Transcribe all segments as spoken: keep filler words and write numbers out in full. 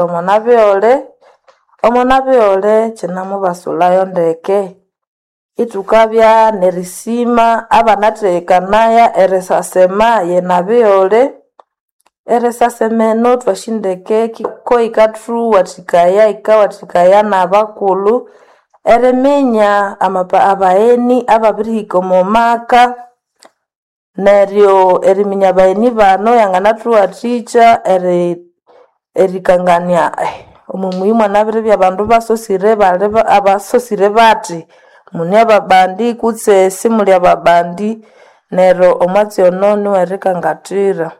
Omo nabighole, omo nabighole kyinamubasulhayo ndeke. Ithukabya nerisima abanathekanaya erisasema yenabighole. Erisasema eno thwasi ndeke ko yikathuwathikaya yikawathikaya nabakulhu eriminya amapa abagheni ababirihika omo maka. Neryo eriminya abagheni bano yanganathuwathikya eri erikangania omo muyi mwanabiribya abandu basosire bali abasosire bathi mune ababandi kutse simuli ababandi neryo omwatsi ono niwerikangathira.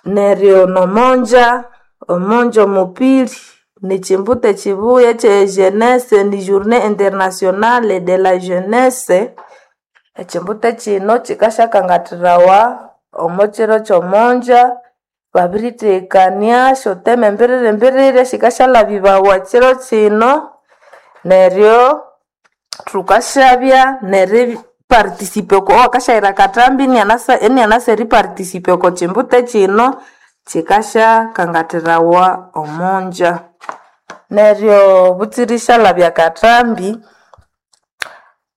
Neryo nomonja, omonja omupiri nikyimbuta ekyibuya ekye jeunesse ni journée internationale de la jeunesse. Ekyimbuta kino kyikasyakangathirawa omo kyiro kyomonja babirithekania esyoteme mbiriri mbiriri esikasyalhabibawa kyiro kino. Neryo thukasyabya neri participate oko owakasyayira akatambi inianasa inianasa eri participate oko kyimbuta kino kyikasyakangathirawa omonja. Neryo butsira isyalhabya akathambi,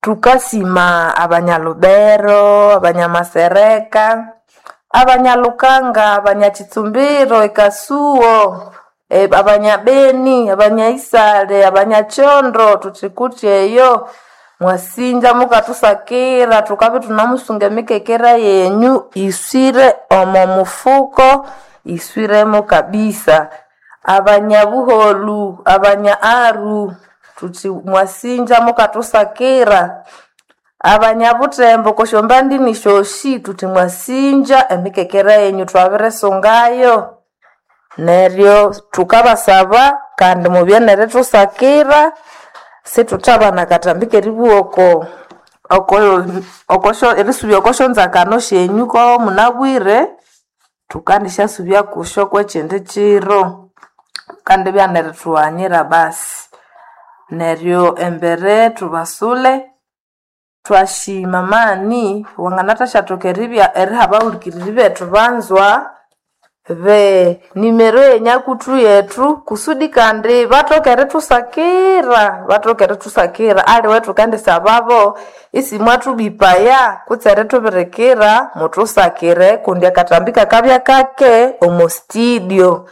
thukasima abanya Lubero, abanya Masereka, abanya Lukanga, abanya Kitsumbiro, e Kasuo, abanya Beni, abanya Isale, abanya Kyondo, thuthi kuthi eyo mwasinja mukathusakira thukabya ithunamusunga emikekera yenyu iswire omo mufuko iswiremo kabisa. Abanya Buholu, abanya Aru thuthi mwasinja mukathusakira. Abanya Butembo okwa syombandini syosi thuthi mwasinja emikekera yenyu thwabirisungayo. Neryo thukabasaba kandi mubye nerithusakira sithuthabana akathambi keribugha oko oko okosyo erisubya okwasyonzakano syenyu komunabwire thukandisyasubya kusyo kwekyindi kiro. Mukandibya nerithughanyira basi. Neryo embere thubasule thwasima amani wanganathashathoka eribya eriha abahulikiriri bethu banzwa be nimero yenyakuthru yethu kusudi kandi bathoke erithusakira bathoke erithusakira aliwe thukendisababo isimwathubipaya kutse erithubirikira muthusakire kundi akathambi kakabya kake omo studio.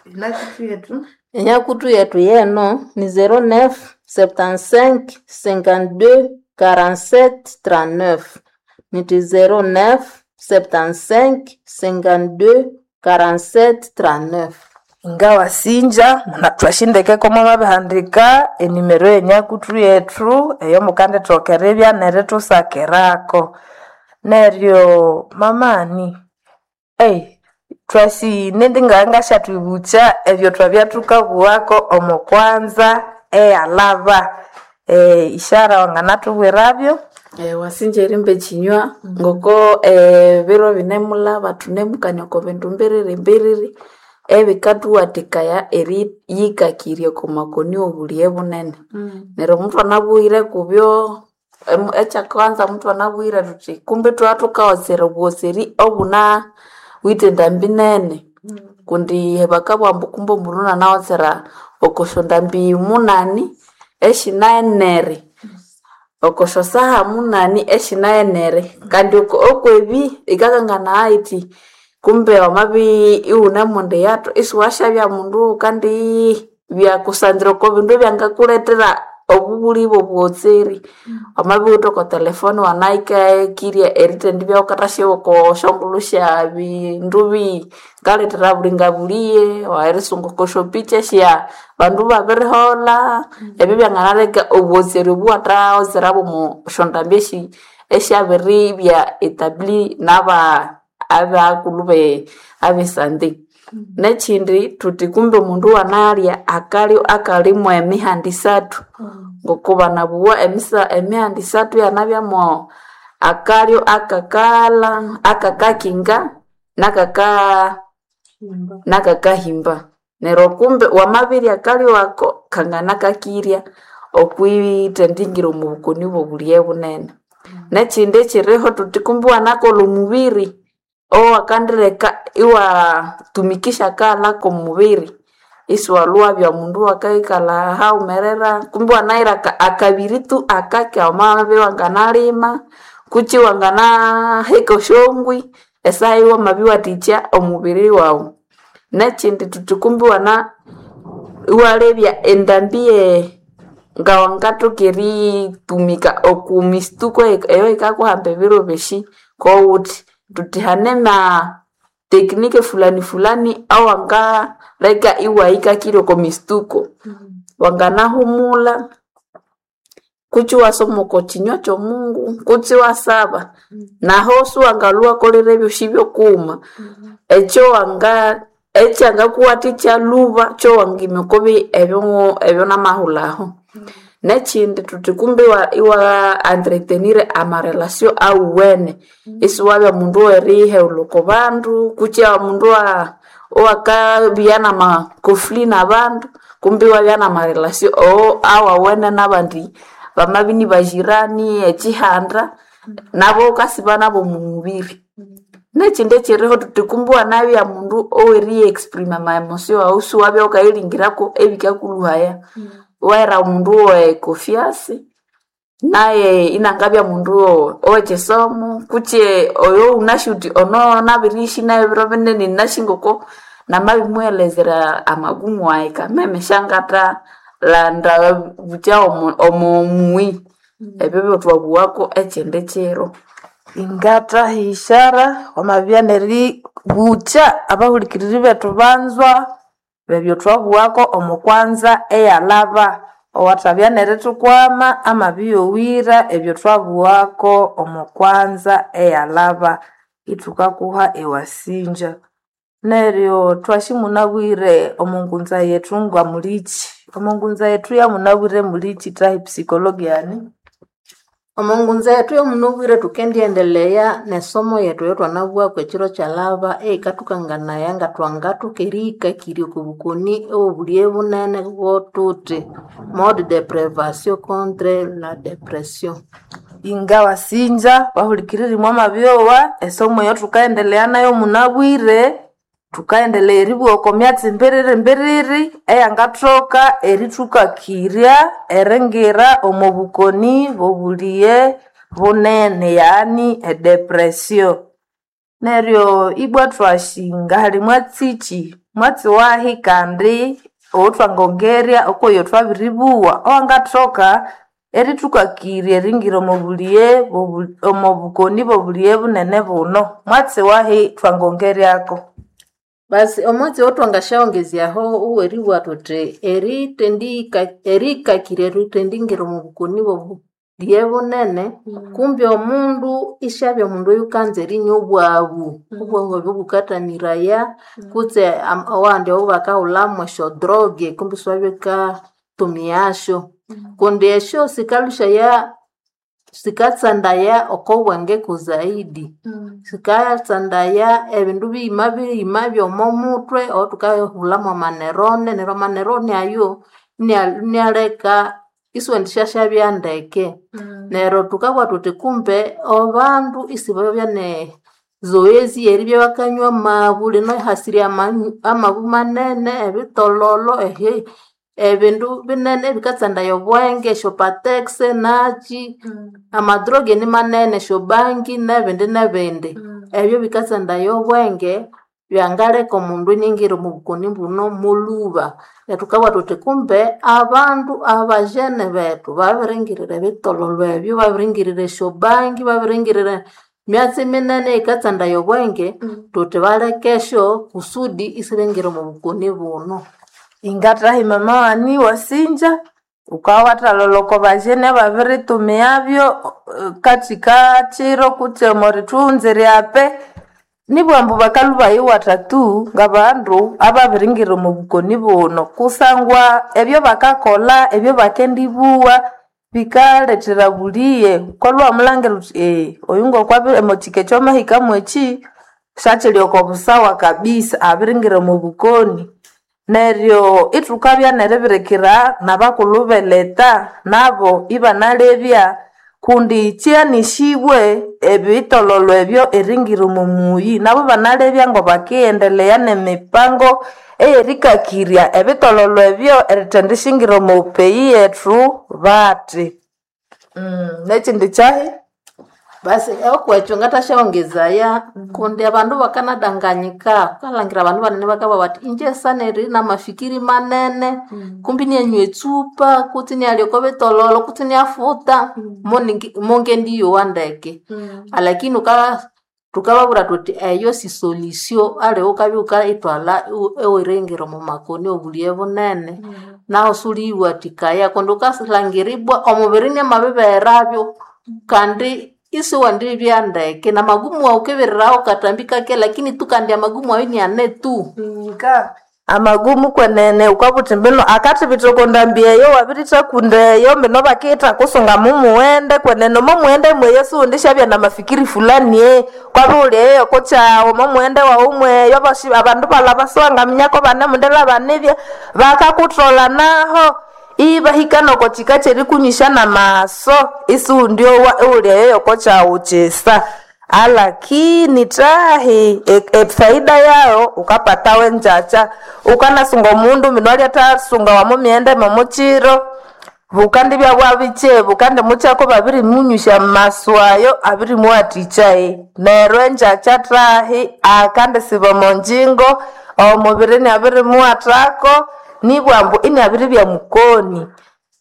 Enyakuthru yethu Enyakuthu yethu yeno ni zero neuf, septante-cinq, cinquante-deux, quarante-sept, trente-neuf. Nithi zero neuf, septante-cinq, cinquante-deux, quarante-sept, trente-neuf. Ngawasinja thwasyindekeko mwamabihandika enimero yenyakuthru yethu eyomukandithoka eribya nerithusakirako. Neryo mamani thwasi nindi ngangasyathwibukya ebyo thwabya thukabugha omo kwanza eyalhaba. Ishara wanganathubwirabyo? Wasinja erimba ekinywa ngoko ebiro binemulhaba thunemukania oko bindu mbiriri mbiriri ebikathuwathikaya eriyikakirya oko makoni owobulighe bunene. Neryo muthwanabuyire kubyo ekyakanza muthwanabuyire thuthi kumbi ithwabya thukaghosera obughoseri obunawithe endambi nene kundi bakabugha ambu kumbe omundu inanaghosera okwasyandambi munani esyinaghenere, okwasyasaha munani esyinaghenere kandi okwebi yikakanganaya yithi kumbe wamabya iwunemundi eyathu isiwasyabya mundu wukandibya kusanzira oko bindu ebyangakulethera obubulhi bwobughoseri. Wamabya iwuwithe oko telefone iwanayikakirya erithendibya wukathasyagha oko syongulhu sya bindu bikalethera bulinga bulighe, erisunga oko syapicha esya bandu babiriholha, ebyo byanganaleka obughoseri obu iwathaghosera bwomo syondambi esi esyabiribya etabli naba abakulhu be abesante. Nekyindi thuthi kumbe omundu iwanalya akalyo akalimo emihanda isathu ngoko banabugha emisa emihanda isathu iyanabya akalyo akakalha, akakakinga, nakaka nakakahimba. Neryo kumbe wamabirya akalyo ako kanganakakirya okwithendingira omo bukoni bw'obulighe bunene. Nekyindi ekyiriho thuthi kumbe iwanakolha omubiri owakandireka iwatumikisha akaghalha k'omubiri isiwalhuwabya bya mundu wakaikalha haghumerera kumbe iwanahira aka- akabiri tu akake wamabya iwanganalima kutse iwanganaheka esyongwi esaha eyo wamabya iwathikya omubiri wawu. Nekindi thuthi kumbe iwana iwalebya endambi ye ngawangathoka eritumika oku mistuko eyikakuhamba ebiro byosi kowuthi thuthi hanema teknike fulani fulani awangaleka iwahikakirya oko mistuko. Wanganahumulha kutse iwasoma oko kinywa ky'omungu kutse iwasaba naho siwangalhwa iwakolera ebyosi byokughuma ekyo wanga ekyangakuwathikya lhuba kyowangimya okobi ebyo ebyonamahulhaho. Nekindi thuthi kumbe iwa iwa entretenir amarelation awuwene isiwabya mundu oweriheghulha oko bandu kutse omundu owa owakabya nama conflit nabandu kumbe iwabya namarelation oo awawene nabandi bamabya inibajirani ekihanda nabo wukasiba nabo omu mubiri. Nekindi ekyiriho thuthi kumbe iwanabya mundu oweriya exprima ama emotion wawu isiwabya wukayilhingirako ebikakulhuhaya iwahera omundu owe confiance naye inangabya mundu owekyisomo kutse oyo wunasi wuthi ono nabirishi nayo ebiro binene ninasi ngoko namabimuwelezera amagumu wayi kameme syangathalanda bukya omu omu muyi ebyo byethwabughako ekyindi kiro. Ingathaha ishara wamabya neribukya abahulikiriri bethu banzwa bebyo thwabugha omo kwanza eyalhaba owathabya nerithukwama amabiyowira ebyo thwabugha omo kwanza eyalhaba ithukakuha ewasinja. Neryo twashimunabwire omo ngunza yethu ngamulikyi omo ngunza yethu yamunabwire mulikyi thahi psikologiani? Omo ngunza yethu yomunabwire thukendiendelea nesomo yethu eyatwanabughaku ekiro kyalhaba eyikathukanganaya ngathwangathoka erihikakirya oko bukoni obwobulye bunene bwothuthi mode de prévention contre la dépression. Ingawasinja bahulikiriri mwamabyowa esomo eyo thukaendelea nayo munabwire thukaendelea eribugha oko myatsi mbiriri mbiriri eyangathoka erithukakirya eringira omo bukoni bobulye bunene yaani edepression. Neryo ibwa thwasinga hali mwatsikyi mwatsi wahi kandi owuthwangongerya okweyo thwabiribugha owangathoka erithukakirya eringira omo bulye bobu- omo bukoni bobulye bunene buno mwatsi wahi thwangongeryako. Basi omwatsi owatwangasyawongezyaho oweribugha thuthi erithendihika erihikakirya erithendingira omo bukoni bwobulye bunene kumbe omundu isyabya omundu oyukanza erinywa obwabu obwabu obo bukathamiraya kutse am- awandi awabakahulhamu esyodroge kumbe isiwabya wukatumiyasyo kundi esyo sikalhusyaya sikatsandaya oko bwenge kuzaidi sikatsandaya ebindu biyima biyima byomo muthwe owethukahulhamu amanerone neryo amanerone ayo inia- inialeka isiwendisyashabya ndeke neryo thukabugha thuthi kumbe abandu isibabya ne zoezi yeribya bakanywa amabu lino ihasirye amanyu amabu manene ebitololo ehe ebindu binene ebikatsandaya obwenge esyopatex nakyi amadroge nimanene esyobangi nebindi nebindi ebyo bikatsandaya obwenge byangaleka omundu iningira omu bukoni buno mulhuba neryo thukabugha thuthi kumbe abandu abajene bethu babiringirira ebitololo ebyo babiringirira esyobangi babiringirira myatsi minene eyikatsandaya obwenge thuthi balekesyo kusudi isibingira omu bukoni buno. Ingathahi mama wani wasinja wukawathalolha oko bajene ababiritumiyabyo kathikakyiro kutse omo rithunzi ryape nibugha ambu bakalhwa ibayiwatha tu ngabandu ababiringira omo bukoni buno kusangwa ebyo bakakolha ebyo bakendibugha bikalethera buliye wukalhwa iwamulhangira wuthi eghe oyu ngokwabi emothika ekyo amahika mwekyi syakyiri oko busawa kabisa abiringira omo bukoni neryo ithukabya neribirikira nabakulhu beleta nabo ibanalebya Kundi kyanishibwe ebitololo ebyo eringira omo muyi nabo banalebya ngo bakiyendelea nemipango eyerikakirya ebitololo ebyo erithendishingira omo peyi yethu bati. Mm, nekindi kyahi? Basi okwekyo ngathasyaongezaya kundi abandu bakanadanganyika wukalhangira abandu banene bakabugha bathi inje saneri namafikiri manene kumbi inanywa etsupa kutse inalya oko bitololo kutse inafuta moningi mongendiyowa ndeke. Alakini wuka thukababwira thuthi eyo si solution aliwe wukabya wukayithwalha iweringira omo makoni obulighe bunene nahu siwuliyiwathikaya kundi wukasilhangira ibwa omubiri inamabiribeherabyo kandi isiwendibya ndeke namagumu wawu wukibirirawo katambi kake lakini tu kandi amagumu ayo iniane tu. Nga amagumu kwenene wukabuthi mbino akathibitha oko ndambi eyo wabirithaku eyo mbino bakiyitha kusunga mumughende kwenene omo mughende mweyo siwundisyabya namafikiri fulani ee kwabya iwuli eyo okukyawu omo mughende wawu mweyo abosi abandu balaba siwangaminyako banemundilaba nibya bakakutholha naho ibahika noko kika kyerikunywisya namaso isiwundyowa iwuli eyo yokokyawu kyisa. Alakini thahi efaida yayo wukapatawo engyakya wukanasunga omundu mbino alyathasunga wamumighende momukyiro bukandibya bwabikye bukandimukyako babirimunywisya amasu ayo abirimuwathikya neryo engyakya thahi akandisiba omonjingo omubiri inabirimuwathako nibwambu inabiribya mukoni.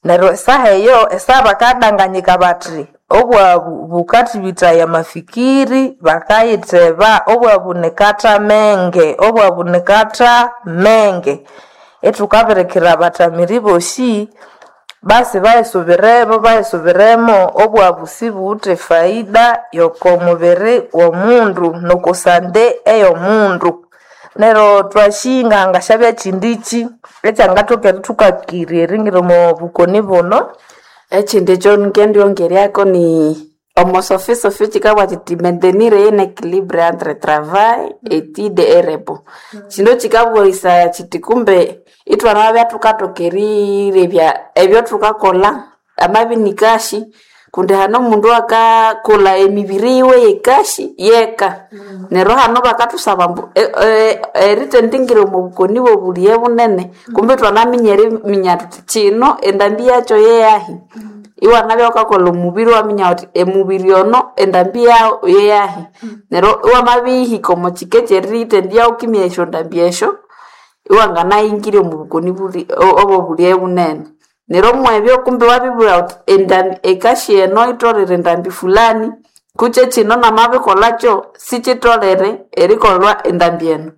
Neryo esaha eyo esaha bakadanganyika bathi obwabu bukathibithaya amafikiri bakayitheba obwabu nikatha menge obwabu nikatha menge. Ithukabirikira abathamiri bosi basi bayisubiremo bayisubiremo obwabu sibuwithe faida yoko mubiri womundu nokusande eyomundu. Neryo twashinga ngasyabya kyindiki ekyangathoka erithukakirya eringira omo bukoni buno. Ekindi ekyo ngendyongeryako ni omo sofi sofi kikabugha kiti maintenir un équilibre entre travail, étude et repos. Kino kikabughisaya kiti kumbe ithwanamabya thukathoka erirebya ebyathukakolha amabya inikashi kundi hane omundu akakolha emibiri yiwe yekashi yeka neryo hano bakathusaba ambu erithendingira omo bukoni bwobulighe bunene kumbe ithwanaminya eriminya thuthi kino endambi yakyo yeyahi iwanabya wukakolha omubiri iwaminya wuthi emubiri ono endambi yawu yeyahi neryo iwamabihika omo kika ekyerithendya wukimya esyondambi esyo iwanganayingira omu bukoni buli obobulighe bunene. Neryo omwebyo kumbe iwabibugha wuthi endambi ekashi eno yitholere endambi fulani kutse kino namabikolhakyo sikyitholere erikolhwa endambi eno.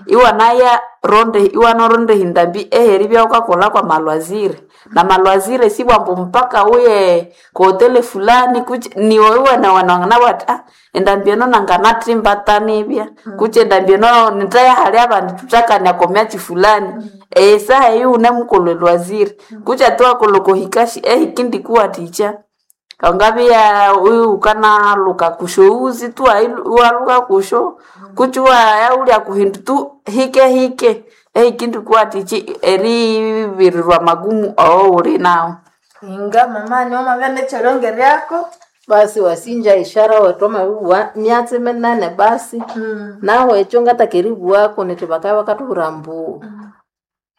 Iwanaya ronde iwanaronda endambi eyeribya wukakolha kwamalwazire namalwazire sibwambu mpaka wuye kuhoteli fulani kutse niwe iwenewene wanganabugha wuthi ah endambi eno nanganathimba tanibya kutse endambi eno nithaya hali abandi thuthakania okomyatsi fulani esaha eyo iwunemukolha elwazire kutse ati iwakolha okohikashi ehikindikuwathikya wangabya iwukanaluka kusyowuzi tu iwalhuka kusyo kutse iwaya kuhindu tu hike hike ehikindikuwathikya eribirirwa amagumu awawuli nawu. Inga mama niwamabya nekyeryongeryako. Basi wasinja ishara wethu wamabibugha myatsi minene basi nahu ekyo ngataka eribughaku nithi bakabya bakathubwira ambu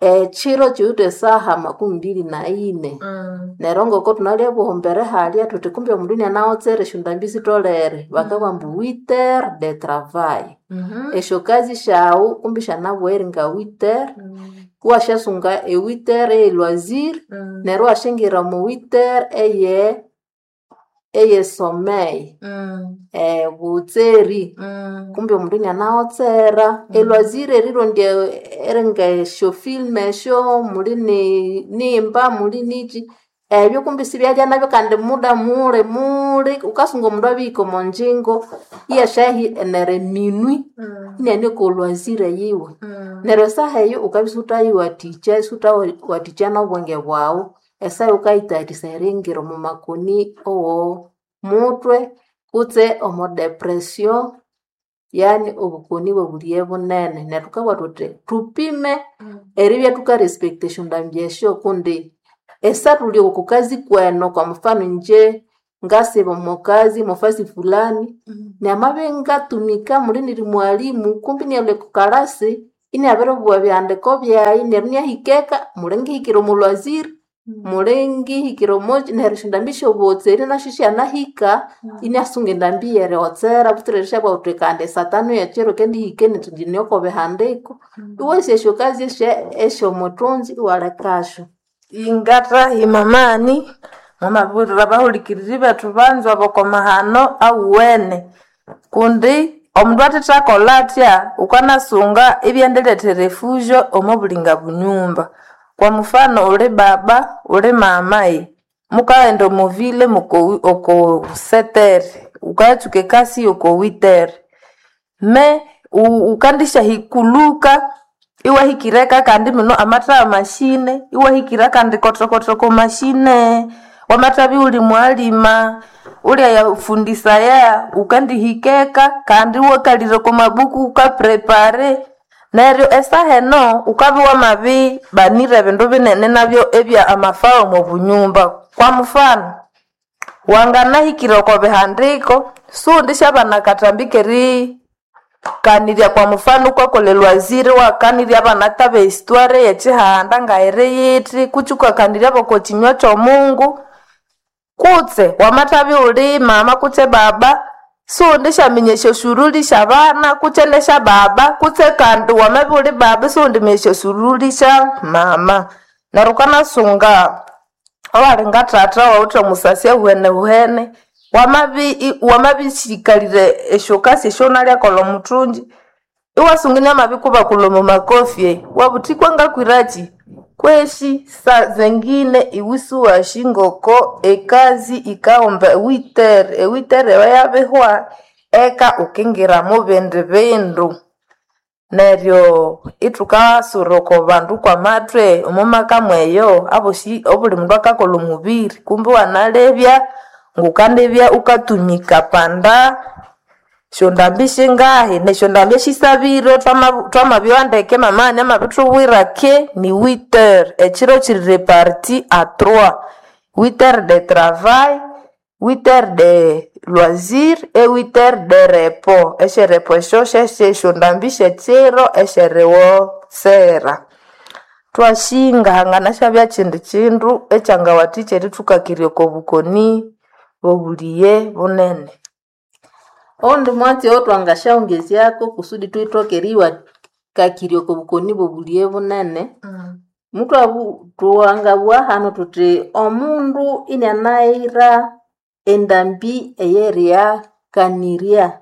ekyiro kyiwithe esaha makumi mbiri na ini neryo ngoko thunalya buhombere halya thuthi kumbe omundu inanawotsera esyondambi sitholere bakabugha ambu huit heures de travail. Esyokazi syawu kumbi syanabugha eringa huit heures iwasyasunga e huit heures eye loisir neryo iwasyangira omo huit heures eye eye sommeil obutseri kumbe omundu inanawotsera. Elwazire erirondya eringa esyo film esyo muli ni nimba muli niki ebyo kumbi sibyalya nabyo kandi muda muli muli wukasunga omundu abihika omonjingo iyasyahi neryo eminwi iniane kolwazire yiwe. Neryo esaha eyo wukabya isiwuthayiwathikya isiwuthawathikya nobwenge bwawu esaha eyo wukayithayarisaya eringira omo makoni owo muthwe kutse omo depression yani obukoni bwobulighe bunene. Neryo thukabugha thuthi thupime eribya thukarespecta esyondambi esyo kundi esathuli oko kazi kweno kwa mfano inje Ngasiba omokazi mofasi fulani namabya ngatumika muli niri mwalimu kumbi inalhwa oko kalasi inabiribugha ebihandiko byayi neryo inahika eka muli ngihikire omo lwaziri muli ngihikire omoki neryo esyondambi syobuhotseri nasyo isyanahika inasunga endambi yerihotsera butsira erisyabugha wuthi kandi satano yekyiro kendihika inithi ngine oko bihandiko. Iwasi esyokazi esyomuthunzi iwalekasyo. Ingathahi mamani mwamabirira abahulikiriri bethu banzwa boko mahano awuwene kundi omundu athethakolha athya wukanasunga ibyendilethere efujo omo bulinga bunyumba. Kwa mfano uli baba uli mama mukaghenda omo vile muko oko setere wukayatsuka ekasi oko witere me wukandisyahikulhuka iwahikira eka kandi mino amatha mashine iwahikira kandi kotokoto oko mashine wamathabya iwuli mwalima ulyayafundisaya wukandihika eka kandi iwakalira oko mabuku wukaprepare neryo esaha eno wukabya wamabibanira ebindu binene nabyo ebya amafao omo bunyumba. Kwa mfano wanganahikira oko bihandiko siwundisyabana akathambi kerikanirya kwa mfano wukakolha elwaziri iwakanirya abana taba ehistoire yekyihanda ngayiri yithi kutse iwakanirya boko kinywa kyomungu kutse wamathabya iwuli mama kutse baba siwundisyaminya esyosuruli syabana kutse nesyababa kutse kandi wamabya iwuli baba isiwundiminya esyosuruli sya mama. Neryo wukanasunga owali ngathatha owawithe omusasi ahuhenehuhene wamabi wamabisikalire esyokasi esyawunalyakolha omuthungi iwasunga inamabikubakulha omo makofi iwabugha wuthi kwangakwiraki kweshi sa zengine iwe isiwasi ngoko ekazi yikahomba ewitere, ewitere eyo yabihwa eka wukingira mubindi bindu. Neryo ithukasura oko bandu kwamathwe omo maka mweyo abosi obuli mundu akakolha omubiri kumbi iwanalebya ngukandibya wukatumika panda syondambi singahi nesyondambi esisabire thwamabyowa ndeke mama amabithubwira ke ni huit heures ekyiro kyiri reparti a trois huit heures de travail, huit heures de loisir e huit heures de repos. Esyerepo esyo syesyesyondambi syekyiro esyeriwotsera. Thwasinga hanganasyabya kyindi kyindu ekyangawathikya erithukakirya oko bukoni bobuliye bunene. Owundi mwatsi owatwangasyaghongezyako kusudi thwithoke eriyiwakakirya oko bukoni bobuliye bunene, muthwabu thwangabugha hanu thuthi omundu inianaghira endambi eyeriyakanirya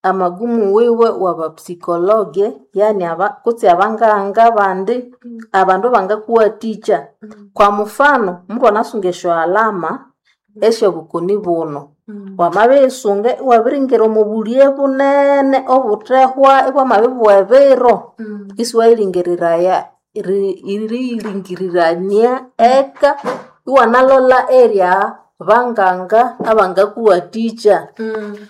amagumu wiwe waba psychologue yani aba kutse abanganga abandi abandu abangakuwathikya. Kwa mufano mundu anasunga esyo alama esyobukoni buno, wamabirisunga iwabiringira omo buliye bunene obuthehwa ibwamabibugha ebiro isiwayilingiriraya eriyilingirirania eka iwanalolha erya banganga abangakuwathikya.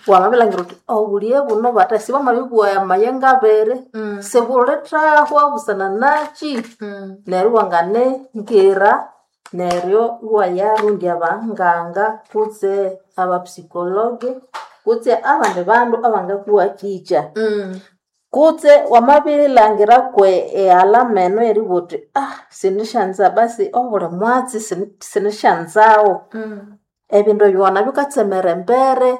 Wamabilhangira wuthi obuliye buno bathe sibwamabibugha amayengo abiri sibulithahwa busana nakyi neryo iwanganingira neryo iwayarondya abanganga kutse aba psychologue kutse abandi bandu abangakuwathikya. Kutse wamabirilhangira kwe ealama eno eribugha wuthi sinisyanza basi obuli mwatsi sinisyanzawo ebindu ebyo wanabya wukatsemera embere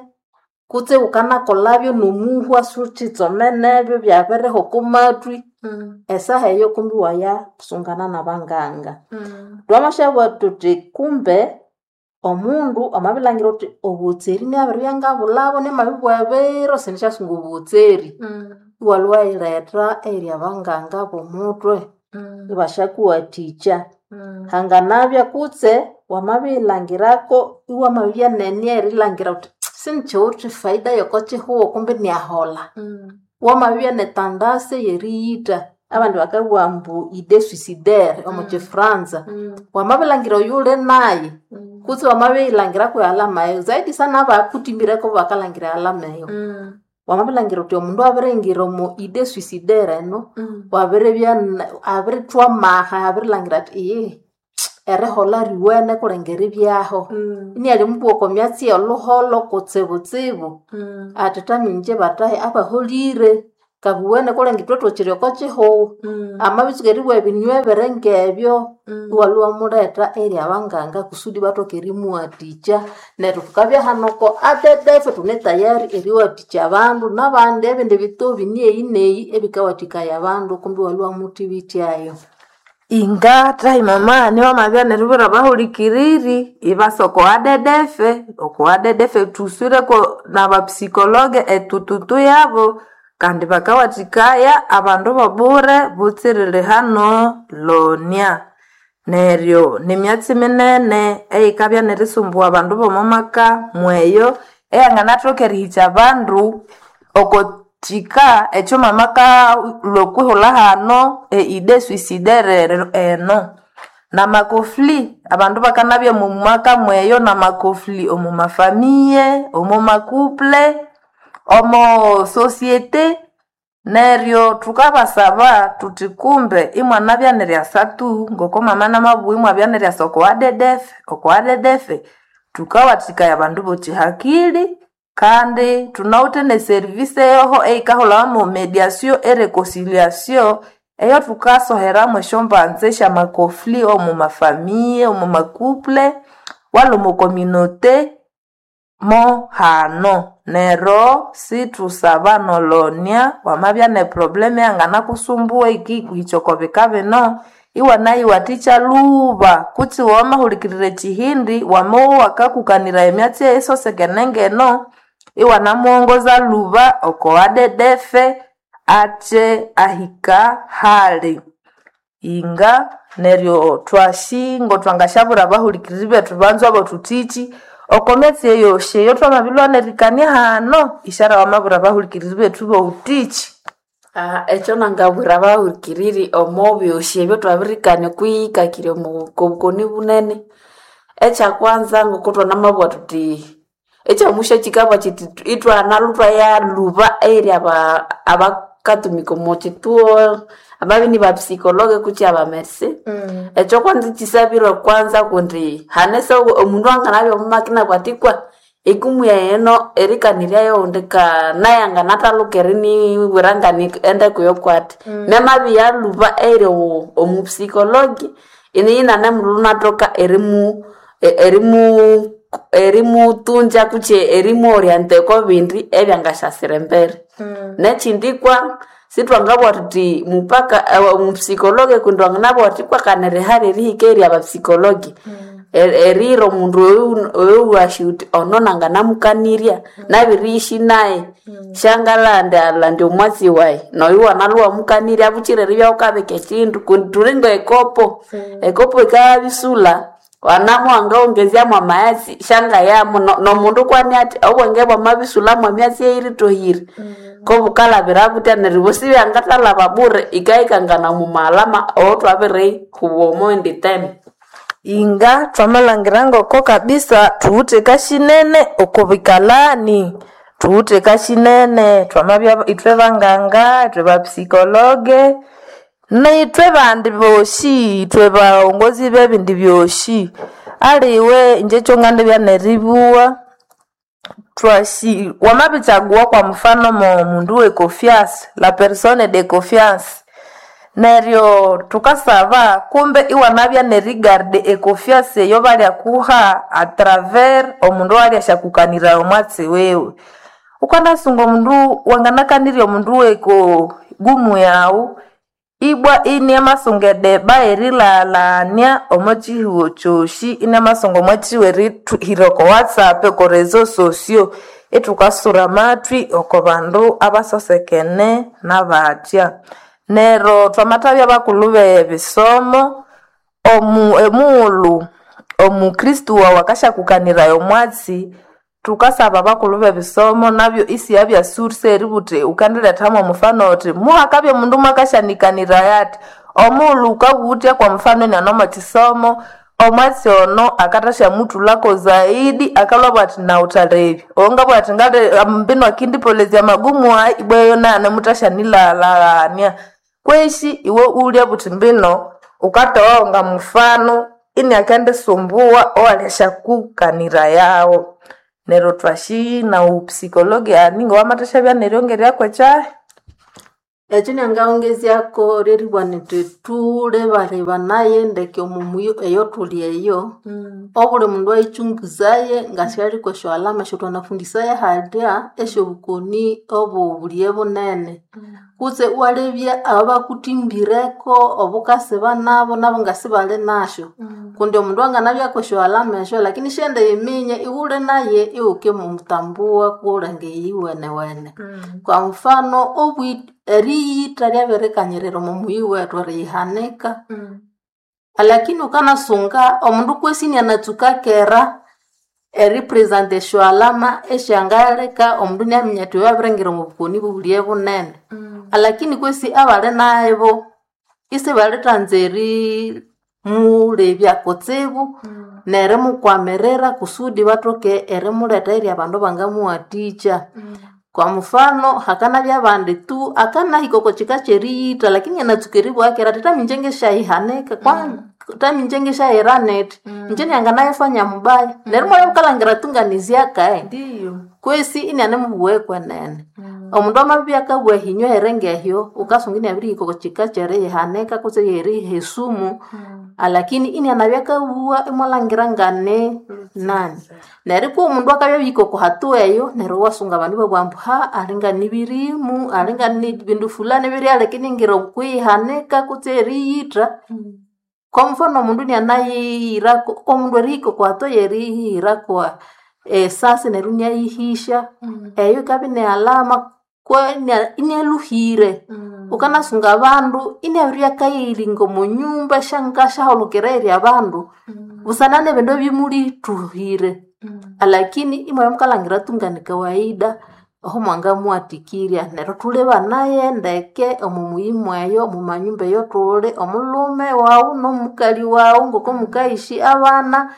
kutse wukanakolhabyo nomuhwa siwuthitsomenebyo byabirihwa oko mathwi esaha eyo kumbi iwayasungana nabanganga. Thwamasyabugha thuthi kumbe omundu amabilhangira wuthi obuhotseri inabiribya ngabulhabo namabibugha ebiro sinisyasunga obuhotseri iwalhwa iwayiretha eyiri abanganga bomuthwe ibasyakuwathikya. Hanganabya kutse wamabiyilhangirako iwamabya nenia erilhangira wuthi sinikyiwithe faida yoko kyihugho kumbi iniaholha wamabya netandase eyeriyitha abandi bakabugha ambu idée suicidaire omo kyifranza wamabilhangira oyuwuli nayu kutse wamabiyilhangira kwe alama eyo zaidi sana abakuthimbireko bakalhangira ealama eyo wamabilhangira wuthi omundu abiringira omo idée suicidaire eno wabiribya abirithwa amaha abirilhangira athi iyihi. eriholha riwene kulenge eribyaho inialimubugha oko myatsi yolhuholho kutsibutsibu ati thaminje bathahi abaholire kabuwene kulenge ithwe thukiri oko kihugho amabitsuka eribugha ebinywa ebiri ngebyo iwalhwa iwamuletha eri abanganga kusudi bathoke erimuwathikya neryo thukabya hano oko A D D F thune tayari eriwathikya abandu nabandi ebindi bitobi nieyi neyi ebikawathikaya abandu kumbi iwalhwa iwamuthibityayo. Inga thahi mama niwamabya neribwira abahulikiriri ibasa oko A D D F. Oko A D D F thuswireko nabapsikologe etututu yabo kandi bakawathikaya abandu bobure butsiriri hano Lonia. Neryo nimyatsi minene eyikabya nerisumbuwa abandu bomo maka mweyo eyanganathoka erihikya abandu oko kika ekyo mama akalhwa okwihulha hano e idée suicidaire eno. Namakofli abandu bakanabya omu maka mweyo namakofli omu mafamiye, omu makuple, omo societe. Neryo thukabasaba thuthi kumbe imwanabya neryasa tu ngoko mama namabugha imwabya neryasa oko A D D F. Oko A D D F thukawathikaya abandu boki hakili kandi thunawithe ne service yoho eyikahulhawa mo mediation e reconciliation eyo thukasoheramu esyombanza esyamakofli omu mafamiye, omu makuple, wala omu communauté mo hano. Neryo sithusaba nolonia wamabya ne problem eyanganakusumbuwa eyikikuhikya oko bika bino iwanayiwathikya lhuba kutse wamahulikirira ekyihindi wamabya wakakukaniraya emyatsi eyisosekene ngeno iwanamuwongoza lhuba oko A D D F akye ahika hali. Inga neryo twasi ngotwangasyabwira abahulikiriri bethu banzwa bethu thiki oko myatsi eyosi eyothwamabilhwa nerikania hano isyara wamabwira abahulikiriri bethu bowuthiki. Ah, ekyo nangabwira abahulikiriri omo byosi ebyathwabirikania okwiyikakirya omu kobukoni bunene, ekyakwanza ngoko thwanamabugha thuthi ekyamusyo kyikabugha kyithi ithwanalhwa ithwayalhuba eri aba abakatumika omo kyithuo ababya inibapsikologe kutse abamerse. Ekyo kwanza kyisabirwe kwanza kundi hane se omundu anganabya omo maka inabugha athi kwa ekumu yayi eno erikaniryayo owundi ka nayi anganathaluka erinibwira ngani endeko yokwati. Namabya yalhuba eri omupsikologi iniyo inanemulhwa inathoka erimu erimu erimutunja kutse erimuorienta oko bindi ebyangasyasira embere. Nekyindi kwa sithwangabugha thuthi mupaka omupsikologi kundi wanganabugha wuthi kwa kanirihali erihika eri abapsikologi erihira omundu oyu oyuwasi wuthi ono nanganamukanirya nabiriyishi nayi syangalandi omwatsi wayi noyu wanalhwa iwamukanirya buchira eribya wukabika ekyindu kundi thuli ngekopo ekopo yikabya wanamu wangawongezyamu amaghetse syangayamu nomundu kwani athi obwenge bwamabisulhamu emyatsi eyiritohire kobukalhabira butya neryo bosi ibyangathalhaba bure yikahikangana omumaghalama awathwabirihuba omo indi time. Inga thwamalhangira ngoko kabisa thuwithe kasyinene oko bikalani, thuwithe kasyinene thwamabya ithwe banganga, ithwe bapsikologe nithwe bandi bosi ithwe baghongozi bebindi byosi. Aliwe inje ekyongandibya neribugha thwasi wamabikyagugha kwa mufano mo mundu we confiance, la personne de confiance, neryo thukasaba kumbe iwanabya nerigarda econfiance eyo balyakuha a travers omundu owalyasyakukaniriraya omwatsi wiwe. Wukanasunga omundu wanganakanirya omundu weko gumu yaghu ibwa iniamasunga edeba erilaghalania omo kyihugho kyosi iniamasunga omwatsi werithwihira oko whatsapp, oko reseaux sociaux ithukasura amathwi oko bandu abasosekene nabathya. Neryo thwamathabya bakulhu bebisomo omu emughulhu omukristu waghu akasyakukaniraya omwatsi thukasaba abakulhu bebisomo nabyo isiyabya source eribugha wuthi wukandiletha mwomufano wuthi muhakabya omundu mwakasyanikaniraya athi omughulhu wukabugha wuthya kwa mufano iniane omo kisomo omwatsi ono akathasyamuthulhako zaidi akalhwabugha athi nawuthalebya owangabugha athi ngali mbinu akindipolezya amagumu ayi ibwa eyo naghana muthasyanilaghalhaghania. Kwesi iwe iwulya buthi mbino wukathowa nga mufano Iniakendisumbua owaliashakukanira yawo. Neryo twashi na upsikologi ani ngowamathashabya neryongerya kwekyahi. Ekyo nyangaghongezyako lyeribugha nyithi thulebalebanaye ndeke omo muyi eyothuli eyo, obuli mundu ayichunguzaye ngasyali kwesyo alama esyathwanafundisaya halya esyobukoni obobulighe bunene. Kutse iwalebya ababakuthimbireku obukasiba nabu, nabu ngasibali nasyu. Kundi omundu anganabya kwesyo alama esyo lakini isyaghenda eriminya ighuli naye ighukimutambua kuwulenge iyowenewene. Kwa mfano obwi eriyitha lyabirikanyirira omo muyi wethu eriyihanika. Alakini wukanasunga omundu kwesi inianatsuka kera eripresenta esyo alama esyangaleka omundu inaminya athi oyo abiringira omo bukoni bobulighe bunene. Alakini kwesi abali nabo isibalithanza erimulebya kutsibu nerimukwamirira kusudi bathoke erimuletha eyiri abandu abangamuwathikya. Kwa mfano hakanabya abandi tu akanahika oko kika kyeriyitha lakini anatsuka eribugha kera athi tami inje ngesyayihanika kwa tami inje ngesyayira nithi inje nyanganayifanya mubaya neryo imwabya wukalhangira tu nganizyakae Ndiyo. kwesi inianemubugha ekwenene. Omundu amabya akabugha ehinywa eringa ehyo wukasunga iniabirihika oko kika kyeriyihanika kutse eriyiha esumu alakini inianabya akabugha imwalhangira ngane nani. Neryo kwihi omundu akabya abirihika oko hatua eyo neryo iwasunga abandu ibabugha ambu ha alinga nibirimu alinga nibindu fulani ibiryaleka iningira okwiyihanika kutse eriyitha. Kwa mfano omundu inianayihirako omundu erihika oko hatua eyeriyihirako esasi neryo iniayihisya eyo yikabya ini alama kwe inialhuhire. Wukanasunga abandu iniabiribya akayiringa omo nyumba esyangasyahulukira eyiri abandu busana nebindu ebimulithuhire. Alakini imwabya mukalhangira tu ngani kawaida aho mwangamuwathikirya. Neryo thulebanaye ndeke omo muyi mweyo omo manyumba eyothuli omulhume wawu nomukali wawu ngoko mukayishi abana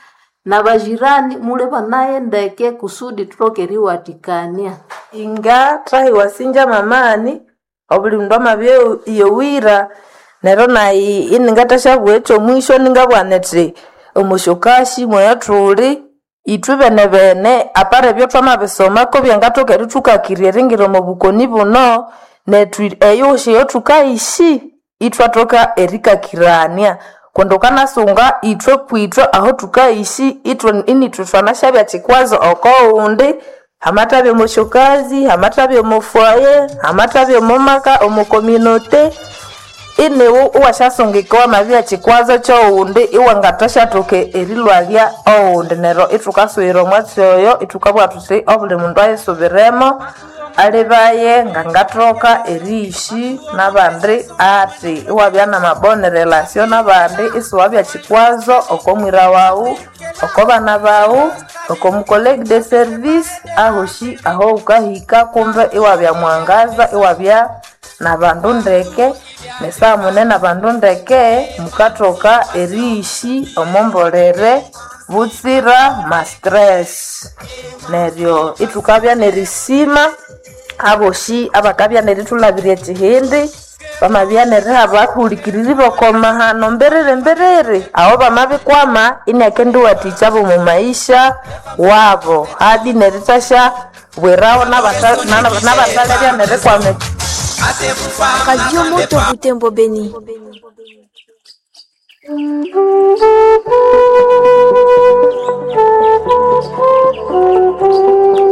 nabajirani mulebanaye ndeke kusudi thuthoke eriwathikania. Inga thahi wasinja mamani obuli mundu amabya iyowira neryo nayi iningathasyabugha ekyomwisho ningabugha nithi omosyokashi mweyathuli ithwe benebene apara ebyo thwamabisomako byangathoka erithukakirya eringira omo bukoni buno nethu eyosi eyothukayishi ithwathoka erikakirania kundi wukanasunga ithwe kwithwe aho thukayishi ithwe inithwe thwanasyabya kikwazo okowundi hamathabya omosyokazi hamathabya omo foyer hamathabya omo maka omo communauté iniwe iwasyasungika wamabya kikwazo kyowundi iwangathasyathoka erilwalya owundi neryo ithukasughira omwatsi oyo ithukabugha thuthi obuli mundu ayisubiremo alibaye ngangathoka eriyishi nabandi athi iwabya namabone relation nabandi isiwabya kikwazo oko mwira wawu oko bana bawu oko mucollegue de service ahoshi aho wukahika kumbe iwabya mwangaza iwabya nabandu ndeke nesaha mune nabandu ndeke mukathoka eriyishi omombolere butsira ma stress neryo ithukabya nerisima aboshi abakabya nerithulabirya ekihindi bamabya neriha abahulikiriri b'okomahano mbiriri mbiriri aho bamabikwama iniakendiwathikya bomu maisha wabo hadi nerithasya bwiraho nabata- nana- nabathalebya nerikwama Radio Moto Butembo Beni.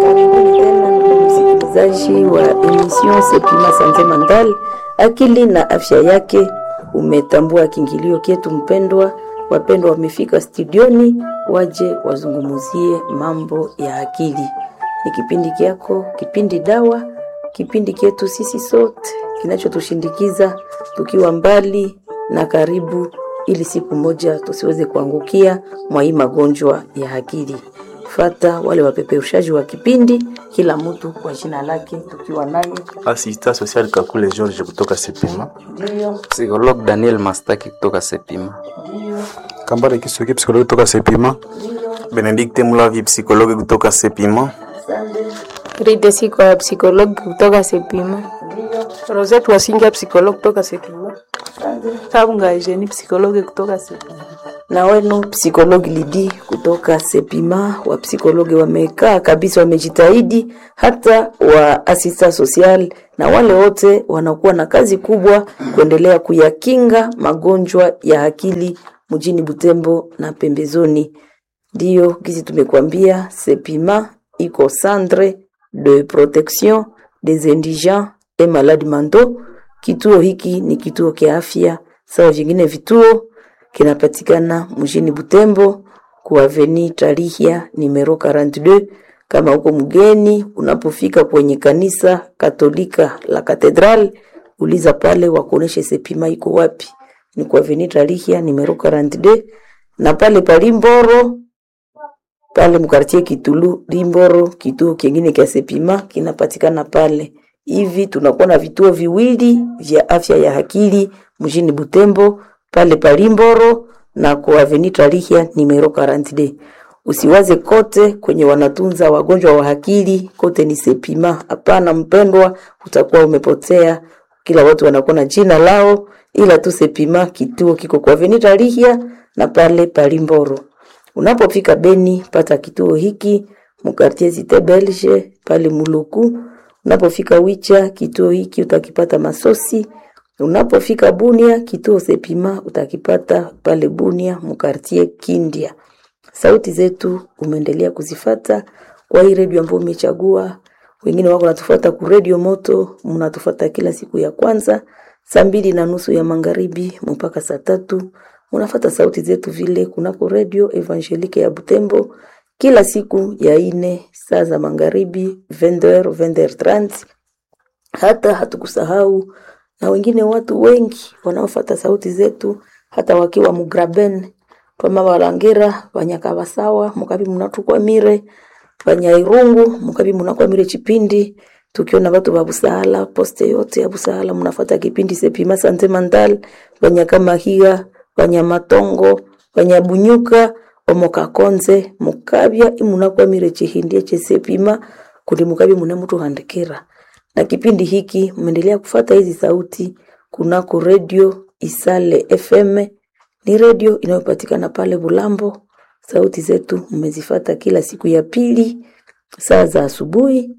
Karibuni tena ndugu msikilizaji wa emission Sepima Sante Mandal, akili na afya yake. Umetambua kiingilio kyetu mpendwa. Wapendwa wamefika studioni, waje wazungumuzie mambo ya akili. Ni kipindi kyako, kipindi dawa, kipindi kyetu sisi sote kinachotushindikiza tukiwa mbali na karibu, ili siku moja tusiweze kuangukia mwa hii magonjwa ya akili. Fata wale wapeperushaji wa kipindi, kila mtu kwa jina lake, tukiwa naye Assistant social Kakule George kutoka Sepima. ndio Psychologue Daniel Mastaki kutoka Sepima. ndio Kambale Kisuki psychologue kutoka Sepima. Benedicte Mulavi psychologue kutoka Sepima. asante, Rita Siko ya psikologi kutoka Sepima. ndio Rosette Wasinga psikologi kutoka Sepima. asante. Kabunga Eugenie psikologi kutoka Sepima. Na wenu psikologi Lidi kutoka Sepima, wa psikologi wamekaa kabisa, wamejitahidi, hata wa asista social na wale wote wanakuwa na kazi kubwa kuendelea kuyakinga magonjwa ya akili mjini Butembo na pembezoni. Ndiyo gizi tumekuambia, Sepima iko centre de protection des indigents et malades mentaux. Kituo hiki ni kituo kia afya sawa vingine vituo kinapatikana mjini Butembo ku Avenue Tarihia numero quarante-deux. Kama uko mgeni, unapofika kwenye kanisa Katolika la Katedral, uliza pale wakuoneshe Sepima iko wapi. Ni ku Avenue Tarihia numero quarante-deux, na pale palimboro pale mkartie Kitulu Limboro, kituo kingine kia Sepima kinapatikana pale. Hivi tunakuwa na vituo viwili vya afya ya akili mjini Butembo pale Palimboro na kwa Avenue Tarihia numero quarante-deux. Usiwaze kote kwenye wanatunza wagonjwa wa akili kote ni Sepima. Hapana mpendwa, utakuwa umepotea. Kila watu wanakuwa na jina lao, ila tu Sepima kituo kiko kwa Avenue Tarihia na pale Palimboro. Unapofika Beni, pata kituo hiki mkartie Cité Belge pale Muluku. Unapofika Wicha, kituo hiki utakipata Masosi. Unapofika Bunia, kituo Sepima utakipata pale Bunia mkartie Kindia. Sauti zetu umeendelea kuzifata kwa hii redio ambayo umechagua. Wengine wako natufuata ku redio Moto, mnatufuata kila siku ya kwanza saa mbili na nusu ya magharibi mpaka saa tatu. Munafata sauti zetu vile kunako redio Evangelique ya Butembo kila siku ya ine saa za magharibi vingt heures vingt heures trente. Hata hatukusahau na wengine watu wengi wanaofata sauti zetu hata wakiwa mugraben twama balangira banyakabasawa mukabi munatukwamire banyairungu mukabi munakwamire chipindi tukiona watu ba Busahala poste yote ya Busahala munafata kipindi Sepima Sante Mental banyakamahiga banyamatongo banyabunyuka omokakonze mukabya imunakwamire chihindie chesepima kundi mukabi munemutuhandikira na kipindi hiki mmeendelea kufata hizi sauti kunako redio Isale F M, ni redio inayopatikana pale Bulambo. Sauti zetu mmezifata kila siku ya pili saa za asubuhi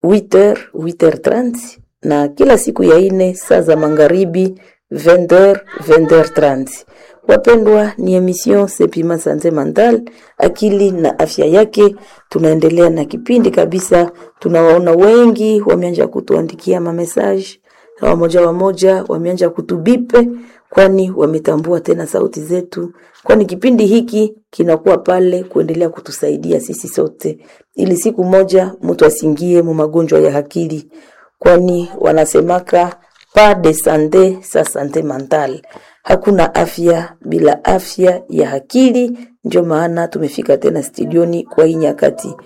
huit heures huit heures trente na kila siku ya ine saa za magharibi vingt heures vingt heures trente. Wapendwa, ni emission Sepima Sante Mental, akili na afya yake. Tunaendelea na kipindi kabisa, tunawaona wengi wameanza kutuandikia mamesaje na wamoja wamoja wameanza kutubipe, kwani wametambua tena sauti zetu, kwani kipindi hiki kinakuwa pale kuendelea kutusaidia sisi sote, ili siku moja mtu asingie mu magonjwa ya akili, kwani wanasemaka pas de sante sa sante mentale, hakuna afya bila afya ya akili. Ndio maana tumefika tena studioni kwa hii nyakati.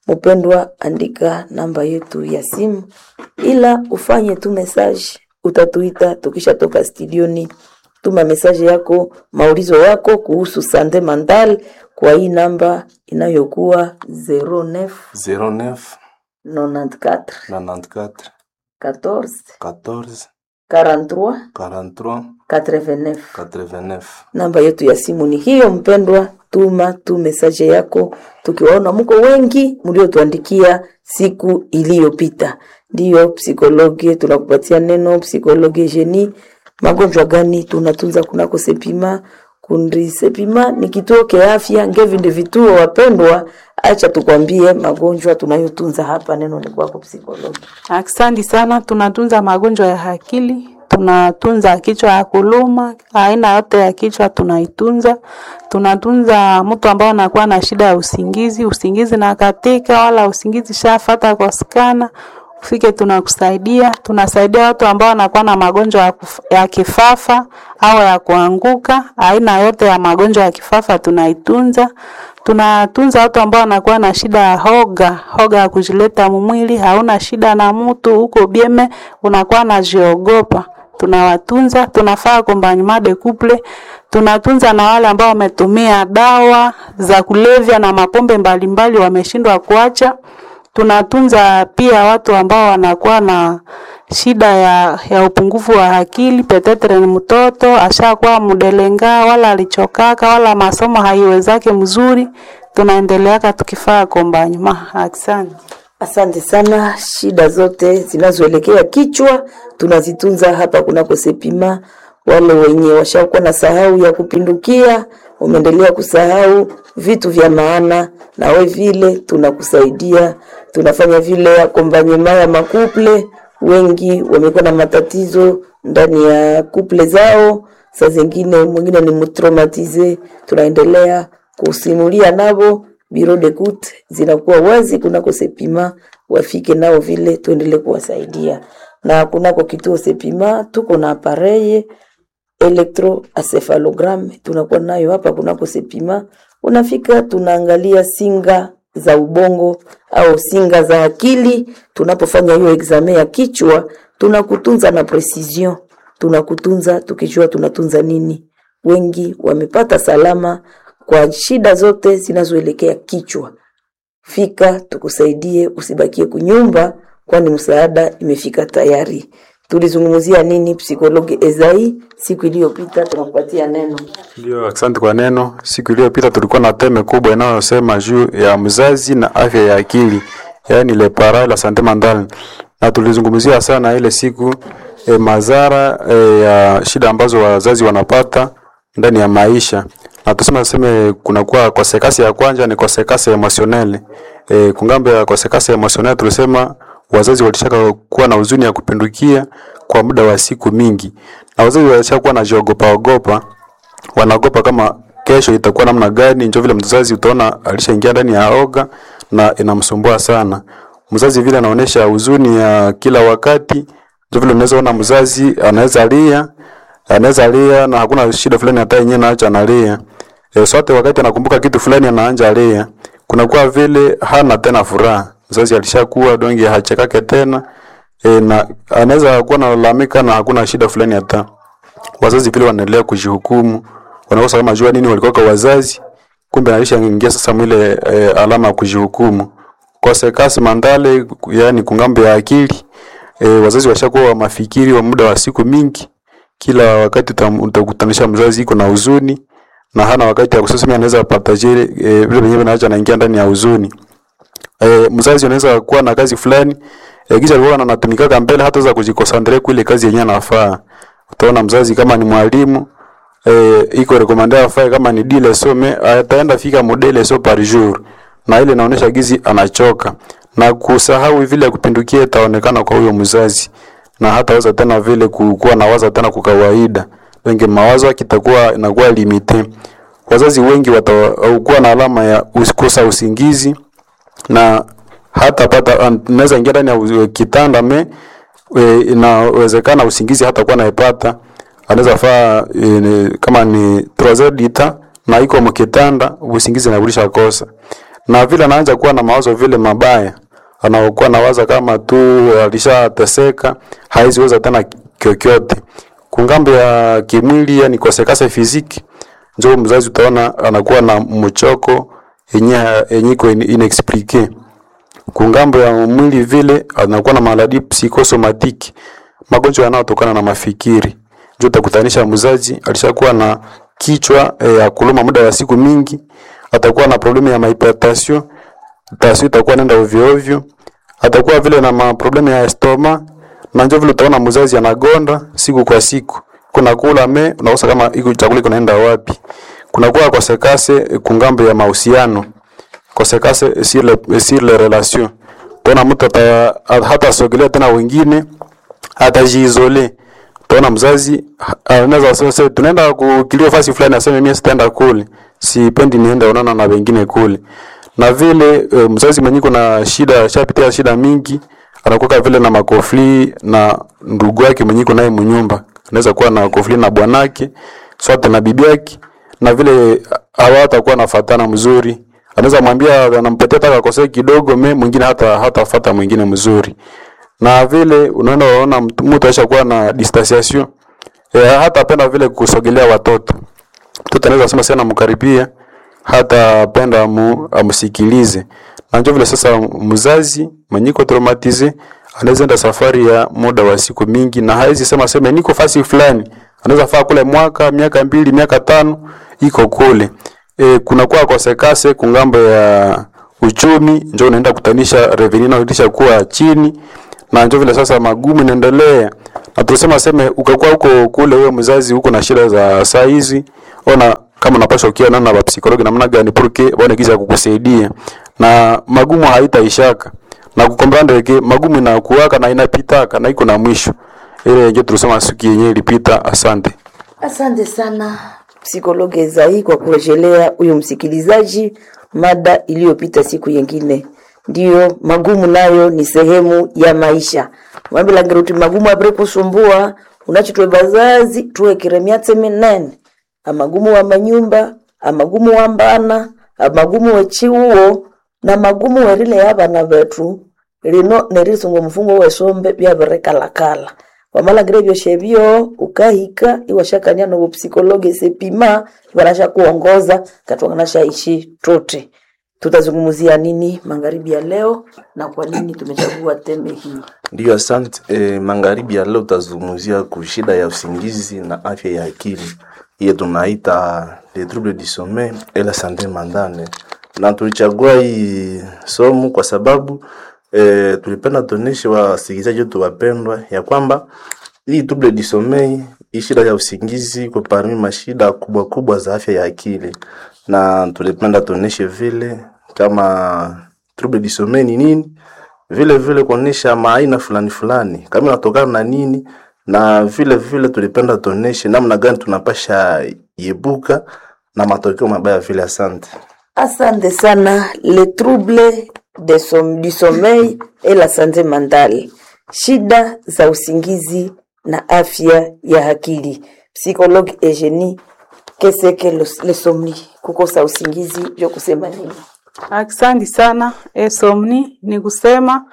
Mpendwa, andika namba yetu ya simu, ila ufanye tu message, utatuita tukishatoka studioni. Tuma message yako, maulizo yako kuhusu sante mental kwa hii namba inayokuwa zero neuf zero neuf nonante-quatre nonante-quatre quatorze quatorze quarante-trois quarante-trois quatre-vingt-neuf. quatre-vingt-neuf. Namba yetu ya simu ni hiyo mpendwa, tuma tu mesaje yako, tukiwaona mko wengi mliotuandikia siku iliyopita. Ndiyo psikologi, tunakupatia neno psikologi jeni. Magonjwa gani tunatunza kunako Sepima? Kundi Sepima ni kituo kia afya, ngevi ndi vituo wapendwa. Acha tukwambie magonjwa tunayotunza hapa. Neno ni kwako psikologi. Asante sana. Tunatunza magonjwa ya akili, tunatunza kichwa ya kuluma, aina yote ya kichwa tunaitunza. Tunatunza mtu ambaye anakuwa na shida ya usingizi, usingizi na katika wala usingizi shafata kwa skana ufike, tunakusaidia. Tunasaidia watu ambao wanakuwa na magonjwa ya, kuf, ya kifafa au ya kuanguka, aina yote ya magonjwa ya kifafa tunaitunza. Tunatunza watu ambao wanakuwa na shida ya hoga, hoga ya kujileta mumwili, hauna shida na mtu huko bieme, unakuwa najiogopa tunawatunza. Tunafaa accompagnement de couple, tunatunza na wale ambao wametumia dawa za kulevya na mapombe mbalimbali wameshindwa kuacha. Tunatunza pia watu ambao wanakuwa na shida ya, ya upungufu wa akili, petetre ni mtoto ashakuwa mudelenga wala alichokaka wala masomo haiwezake mzuri, tunaendeleaka tukifaa kombanyuma. Asante. Asante sana. Shida zote zinazoelekea kichwa tunazitunza hapa kunako Sepima. Wale wenye washakuwa na sahau ya kupindukia, umeendelea kusahau vitu vya maana, na we vile tunakusaidia, tunafanya vile akombanyema ya makuple. Wengi wamekuwa na matatizo ndani ya kuple zao, saa zingine mwingine ni mtraumatize, tunaendelea kusimulia nabo Bureau de coute zinakuwa wazi kunako Sepima, wafike nao vile tuendelee kuwasaidia. Na kunako kituo Sepima tuko na apareye electroencephalogram tunakuwa nayo hapa kunako Sepima. Unafika tunaangalia singa za ubongo au singa za akili. Tunapofanya hiyo examen ya kichwa, tunakutunza na precision, tunakutunza tukijua tunatunza nini. Wengi wamepata salama kwa shida zote zinazoelekea kichwa. Fika tukusaidie, usibakie kunyumba, kwani msaada imefika tayari. Tulizungumzia nini psikologi Ezai siku iliyopita? Tunakupatia neno. Ndio, asante kwa neno. Siku iliyopita tulikuwa na teme kubwa inayosema juu ya mzazi na afya ya akili, yaani le parent la santé mentale, na tulizungumzia sana ile siku e, madhara e, ya shida ambazo wazazi wanapata ndani ya maisha, na tuseme seme kunakuwa kosekasi ya kwanza ni kosekasi emotionelle. E, kungambo ya kosekasi emotionelle tulisema wazazi walishaka kuwa na huzuni ya kupindukia kwa muda wa siku mingi, na wazazi walishakuwa na jiogopa ogopa wanaogopa kama kesho itakuwa namna gani. Njo vile mzazi utaona alishaingia ndani ya oga na inamsumbua sana mzazi, vile anaonesha huzuni ya kila wakati. Njo vile unaweza ona mzazi anaweza lia, anaweza lia na hakuna shida fulani hata yenyewe naacha analia. E, sote wakati anakumbuka kitu fulani anaanja lia, kunakuwa vile hana tena furaha. Mzazi alishakuwa donge hachekake tena e, na anaweza kuwa analalamika na hakuna shida fulani hata wazazi vile wanaendelea kujihukumu, wanakosa kama jua nini walikuwa kwa wazazi, kumbe alishaingia sasa mwile e, alama ya kujihukumu kosekasi mandale, yani kungambo ya akili e, wazazi washakuwa wa mafikiri wa muda wa siku mingi. Kila wakati utam- utakutanisha mzazi iko na huzuni na hana wakati ya kusema anaweza partager e, vile wenyewe naacha anaingia ndani ya huzuni. E, mzazi anaweza kuwa na kazi fulani e, kisha alikuwa anatumikaka mbele hataweza kujikonsentrate kwa ile kazi yenyewe anafaa. Utaona mzazi kama ni mwalimu e, iko recommandé afae kama ni dile some ataenda fika modele so par jour, na ile inaonyesha gizi anachoka na kusahau vile ya kupindukia itaonekana kwa huyo mzazi, na hataweza tena vile kukuwa na waza tena kwa kawaida, wengi mawazo kitakuwa inakuwa limite. Wazazi wengi watakuwa na alama ya kukosa usingizi na hata pata anaweza ingia ndani ya uzi- kitanda me e, inawezekana usingizi hata kuwa naipata, anaweza faa e, ni- kama ni trois heures du temps na iko mkitanda usingizi nakulisha kosa, na vile anaanza kuwa na mawazo vile mabaya, anaokuwa nawaza kama tu alishateseka, haiziweza tena kyokyote kungambo ya kimwili, yani kosekase fiziki, njo mzazi utaona anakuwa na mchoko yenye yenye iko in- inexplique kungambo ya mwili vile anakuwa na maladi psychosomatiki, magonjwa yanayotokana na mafikiri. Ndio utakutanisha mzazi alishakuwa na kichwa eh, ya kuluma muda wa siku mingi, atakuwa na problemu ya hypertension, tension itakuwa nenda ovyo ovyo, atakuwa vile na maproblemu ya estoma, na ndio vile utaona mzazi anagonda siku kwa siku, kuna kula me unakosa kama iko chakula iko naenda wapi. Kuna kuwa kosekase kungambo ya mahusiano kosekase sur le, sur les relations. Tena mtu ata, hata sogelea tena wengine, atajiisole. Tena mzazi ha- anaweza sema sasa tunaenda kukilio fasi fulani, aseme mimi sitaenda kule, sipendi niende onana na wengine kule. Na vile e, mzazi mwenye kuna shida, shapitia shida mingi, anakuwa vile na makofli na ndugu yake mwenye iko naye mnyumba, anaweza kuwa na kofli na bwanake swate na bibi yake, na vile hawatakuwa nafatana mzuri anaweza mwambia anampatia hata kakosea kidogo, me mwingine hata hatafuata mwingine mzuri. Na vile unaenda unaona mtu mtu aishakuwa na distanciation e, hata penda vile kusogelea watoto. Mtoto anaweza sema sana mkaribia, hata penda mu, amsikilize. Na njo vile sasa mzazi mwenye iko traumatisé anaweza enda safari ya muda wa siku mingi na hawezi sema sema niko fasi fulani, anaweza faa kule mwaka, miaka mbili, miaka tano iko kule. E, kunakuwa kosekase kungambo ya uchumi, njo unaenda kutanisha revenue inayotisha kuwa chini, na njo vile sasa magumu inaendelea na tunasema seme ukakuwa huko kule, wewe mzazi huko na shida za saa hizi, ona kama unapaswa ukiwa na psikologi namna gani porque waone giza ya kukusaidia na magumu haitaishaka na kukombrande ke magumu inakuwaka na inapitaka na iko na mwisho. Ile ndio tulisema siku yenyewe ilipita. Asante. Asante sana psikologe Ezai kwa kurejelea huyu msikilizaji mada iliyopita siku yengine. Ndiyo, magumu nayo ni sehemu ya maisha. Mwambilangira uti magumu apre kusumbua unachitwe bazazi tuwekere myatse minene amagumu wa manyumba amagumu wa mbana amagumu wechiuo na magumu werile ya bana betu lino nerisunga omufungo wesombe byabirikalakala wamalhangira ebyosyo ebyo ukahika iwashakania nobupsikologe sepima ibanashakuongoza katwanganashaishi tuti. Tutazungumzia nini magharibi ya leo na kwa nini tumechagua teme hii? Ndiyo, asante. E, magharibi ya leo tutazungumzia kushida ya usingizi na afya ya akili, hiyo tunaita les troubles du sommeil et la santé mentale, na tulichagua hii somo kwa sababu e, tulipenda tuoneshe wasikilizaji wetu wapendwa ya kwamba hii trouble du sommeil, hii shida ya usingizi iko parmi mashida kubwa kubwa za afya ya akili, na tulipenda tuoneshe vile kama trouble du sommeil ni nini, vile vile kuonesha maaina fulani fulani kama inatokana na nini, na vile vile tulipenda tuoneshe namna gani tunapasha yebuka na matokeo mabaya vile. Asante. Asante sana. Les troubles de som, du sommeil et la santé mentale, shida za usingizi na afya ya akili. Psychologue Eugenie, qu'est-ce que le, le somni, kukosa usingizi vyo kusema nini? Asante sana. Esomni ni kusema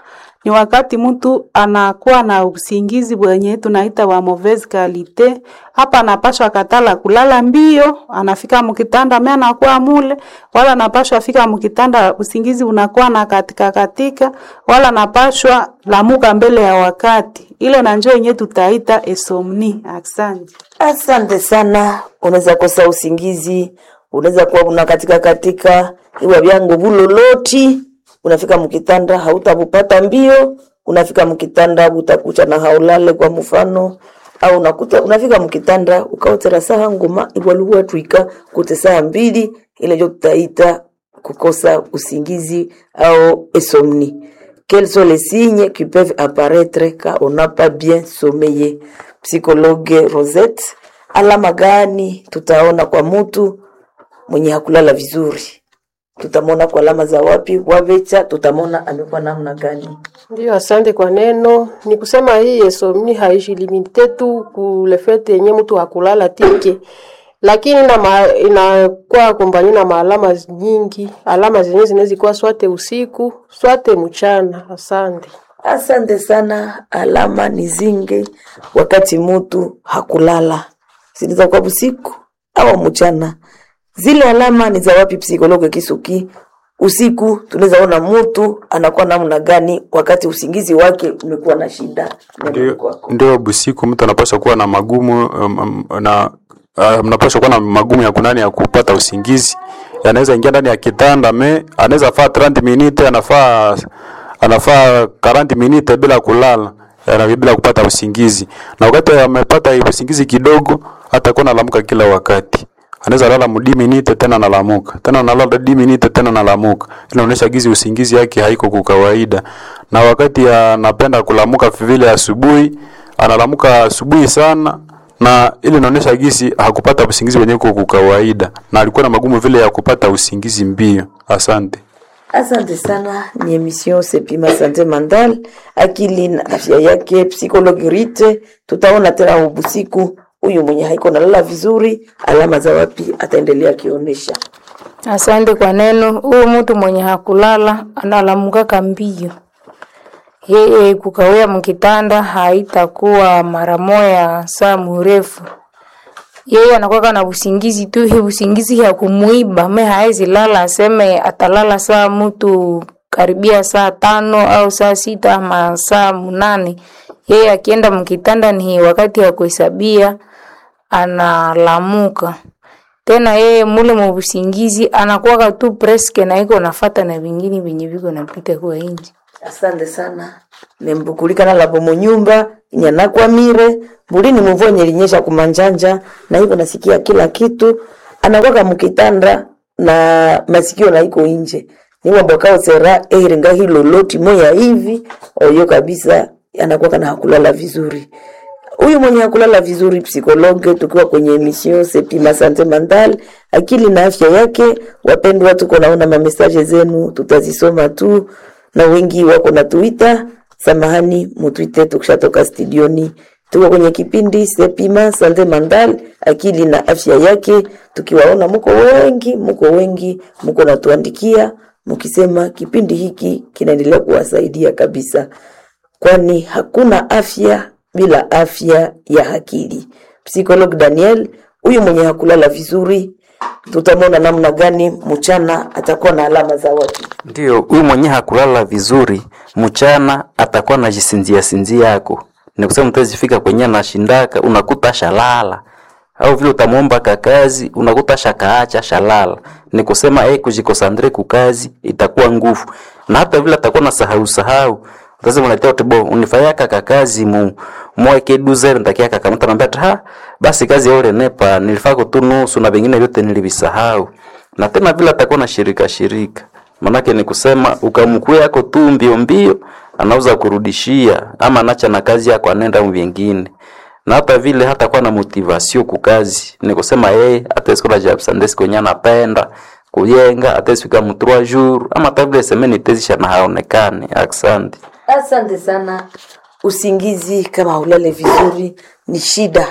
ni wakati mtu anakuwa na usingizi bwenye tunaita wa mauvaise qualité. Hapa anapashwa katala kulala mbio, anafika mkitanda me anakuwa mule, wala anapashwa fika mkitanda usingizi unakuwa na katika katika, wala anapashwa lamuka mbele ya wakati. Ile na njoo yenye tutaita esomni. Asante. Asante sana. Unaweza kosa usingizi, unaweza kuwa una katika katika iwa vyangu vuloloti, unafika mkitanda hautakupata mbio, unafika mkitanda utakucha na haulale kwa mfano au unakuta unafika mkitanda ukaotera saha ngoma iwaluwa twika kute saa mbili, ile ndio tutaita kukosa usingizi au insomnie. Quels sont les signes qui peuvent apparaître quand on n'a pas bien sommeillé? Psychologue Rosette, alama gani tutaona kwa mtu mwenye hakulala vizuri? Tutamwona kwa alama za wapi? Wavecha tutamwona amekuwa namna gani? Ndiyo, asante kwa neno. Ni kusema hii insomnia haijilimite tu kulefete yenye mtu hakulala tike, lakini ina ma, inakuwa kombani na maalama nyingi, alama zenye zinaweza kuwa swate usiku swate mchana. Asante. Asante sana. Alama ni zingi wakati mutu hakulala, zinaweza kuwa usiku au mchana. Zile alama ni za wapi? Psikologe Kisuki, usiku tunaweza ona mutu anakuwa namna gani wakati usingizi wake umekuwa na shida. Neno Ndio, kwako. ndio busiku mtu anapaswa kuwa na magumu um, um, na uh, mnapaswa kuwa na magumu ya kunani ya kupata usingizi. Anaweza ingia ndani ya kitanda me anaweza faa thelathini minute anafaa anafaa quarante minute bila kulala yana bila kupata usingizi, na wakati amepata usingizi kidogo atakuwa analamuka kila wakati. Anaweza lala mudi minute tena analamuka tena analala di minute tena analamuka. Inaonyesha gizi usingizi yake haiko kwa kawaida, na wakati anapenda kulamuka vile asubuhi, analamuka asubuhi sana, na ile inaonyesha gisi hakupata usingizi wenyewe kwa kawaida, na alikuwa na magumu vile ya kupata usingizi mbio. Asante. Asante sana, ni emission Sepima Sante Mandal, akili na afya yake, psychologue Rite. Tutaona tena ubusiku huyu mwenye haiko nalala vizuri, alama za wapi ataendelea akionyesha. Asante kwa neno. Huyu mtu mwenye hakulala analamukaka mbio, yeye kukawia mkitanda haitakuwa mara moya saa mrefu. Yeye anakuwa na usingizi tu, hii usingizi ya kumuiba me haezi lala, aseme atalala saa mtu karibia saa tano au saa sita ama saa munane, yeye akienda mkitanda ni wakati ya kuhesabia analamuka tena. Yeye mule mubusingizi anakuwaka tu preske na iko nafata na vingine vyenye viko napita kwa inji. Asante sana nembukulikana lapo munyumba nyanakwamire mbulini mvua nyelinyesha kumanjanja na hivyo nasikia kila kitu anakwaka mukitanda na masikio na iko inje niwambwakaosera ehiringa hiloloti moya hivi oyo kabisa anakuwa na hakulala vizuri huyu mwenye hakulala vizuri psikologe, tukiwa kwenye emission Sepima Sante Mental, akili na afya yake. Wapendwa, tuko naona mamesaje zenu, tutazisoma tu, na wengi wako na Twitter. Samahani, mutwite tukishatoka studioni. Tuko kwenye kipindi Sepima Sante Mental, akili na afya yake, tukiwaona muko wengi, muko wengi, muko natuandikia mukisema kipindi hiki kinaendelea kuwasaidia kabisa kwani hakuna afya bila afya ya akili. Psikolog Daniel, huyu mwenye hakulala vizuri, tutamwona namna gani mchana atakuwa na alama za wapi? Ndiyo, huyu mwenye hakulala vizuri mchana atakuwa najisinzia sinzia yako, ni kusema mtazifika kwenye anashindaka, unakuta shalala au vile utamwomba kakazi unakuta shakaacha shalala. Ni kusema eh, kujikosandre kukazi itakuwa nguvu, na hata vile atakuwa na sahau sahau sasa unaletea utibo unifanyaka kakazi mu mweke duzer ntakia kaka mtu anambia ati, ha basi kazi yole nepa nilifako tu nusu na vingine vyote nilivisahau. Na tena vile atakuwa na shirika shirika, manake ni kusema ukamkuu yako tu mbio mbio anauza kurudishia ama anacha na kazi yako anenda mu vingine na hata vile hatakuwa na motivation kukazi, ni kusema yeye atesikola jabsandes kwenye anapenda kuyenga atesifika mu trois jours ama hata vile semeni tezisha na haonekane. Asante. Asante sana. Usingizi kama ulale vizuri ni shida,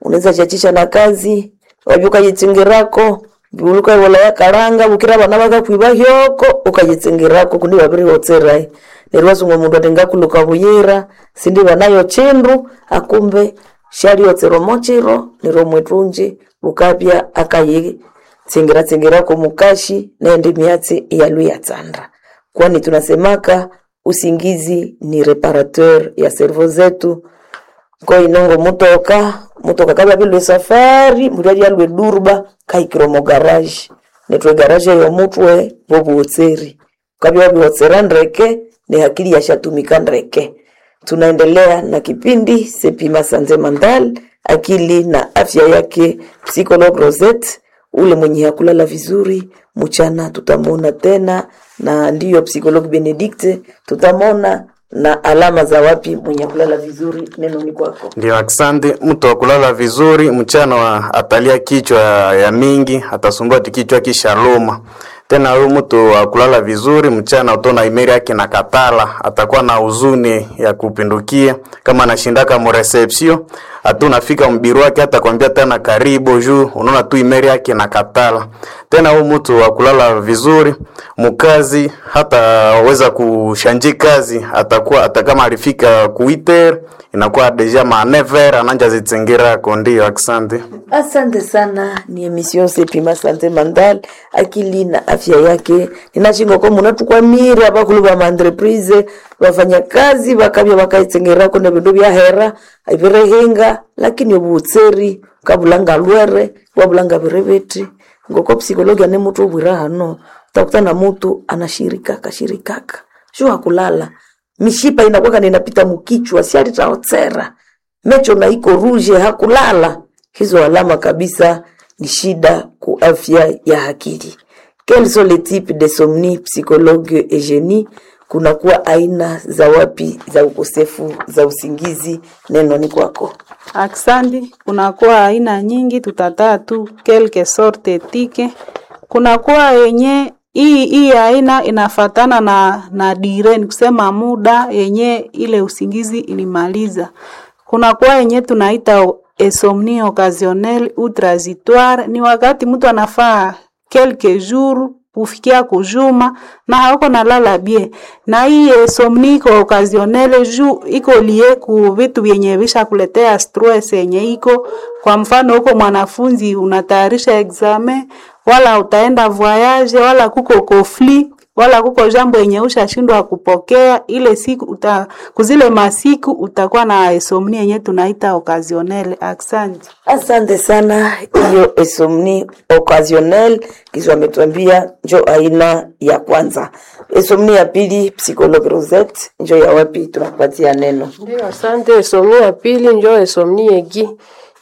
unaweza chachisha na kazi wabya ukajitsingerako buluka wala yakaranga bukira bana bakakwiba hyoko ukajitsingerako kundi wabirihotserai neryo wazungu mundu atingakuluka buyira sindi banayo chindu akumbe shaliotsera mochiro neryo mwetunji bukabya akayitsingira tsingirako mukashi naende myatsi iyalu yatsanda kwani tunasemaka usingizi ni reparateur ya cerveau zetu ko inongo mutoka mutoka kababilwe safari mulali alwe durba kaikiro mo garage netwe garage yo mutwe bobuotseri kabya wabiwotsera ndreke ni hakili yashatumika ndreke tunaendelea na kipindi Sepima Sanze Mandal, akili na afya yake, psychologue Rosette ule mwenye hakulala vizuri mchana tutamwona tena, na ndiyo psychologue Benedicte tutamwona na alama za wapi mwenye kulala vizuri. Neno ni kwako. Ndio, asante. Mtu wa kulala vizuri mchana wa atalia kichwa ya mingi, atasumbua ati kichwa kishaluma. Tena huyu mtu wa kulala vizuri mchana utona imeri yake na katala, atakuwa na huzuni ya kupindukia kama anashindaka mu reception, hata unafika mbiru wake hata kwambia tena karibu juu, unaona tu imeri yake na katala. Tena huyu mtu wa kulala vizuri mukazi hata weza kushanji kazi, atakuwa hata kama alifika kuiter inakuwa deja ma never ananja zitsingira ndio. Asante. Asante sana, ni emission Sepima Sante Mandal, akili na afya yake. Ninashingoko munatukwamire abakulu ba maentreprise bafanyakazi bakabya bakaitsengerako ne bindu bya hera ibirehenga, lakini obutseri kabulanga lwere wabulanga birebeti ngoko psikologia ne mutu obwira hano utakutana mutu anashirika kashirikaka sio hakulala mishipa inakuwa inapita mukichwa si alitaotsera mecho na iko ruje hakulala. Hizo alama kabisa ni shida ku afya ya akili. Quels sont les types de somni psychologue Eugenie? Kunakuwa aina za wapi za ukosefu za usingizi? Neno ni kwako. Aksandi, kunakuwa aina nyingi, tutataa tu quelque sorte tike. Kunakuwa yenye hii hii aina inafatana na na dire, ni kusema muda yenye ile usingizi ilimaliza. Kunakuwa yenye tunaita insomnie occasionnelle ou transitoire, ni wakati mtu anafaa quelques jours kufikia kujuma na hauko nalala bien, na hii insomnie iko occasionnelle juu iko lie ku vitu vyenye vishakuletea stress yenye iko. Kwa mfano, huko mwanafunzi unatayarisha examen, wala utaenda voyage, wala kuko conflit wala kuko jambo yenye ushashindwa kupokea ile siku uta, kuzile masiku utakuwa na insomnia yenye tunaita occasionnelle. Asante. Asante sana. Hiyo insomnie occasionnelle kizo ametuambia njo aina ya kwanza. Insomnie ya pili, psychologue Rosette, njo ya wapi? Tunakupatia neno. Ndio, asante. Insomnie ya pili njo insomnie aiguë.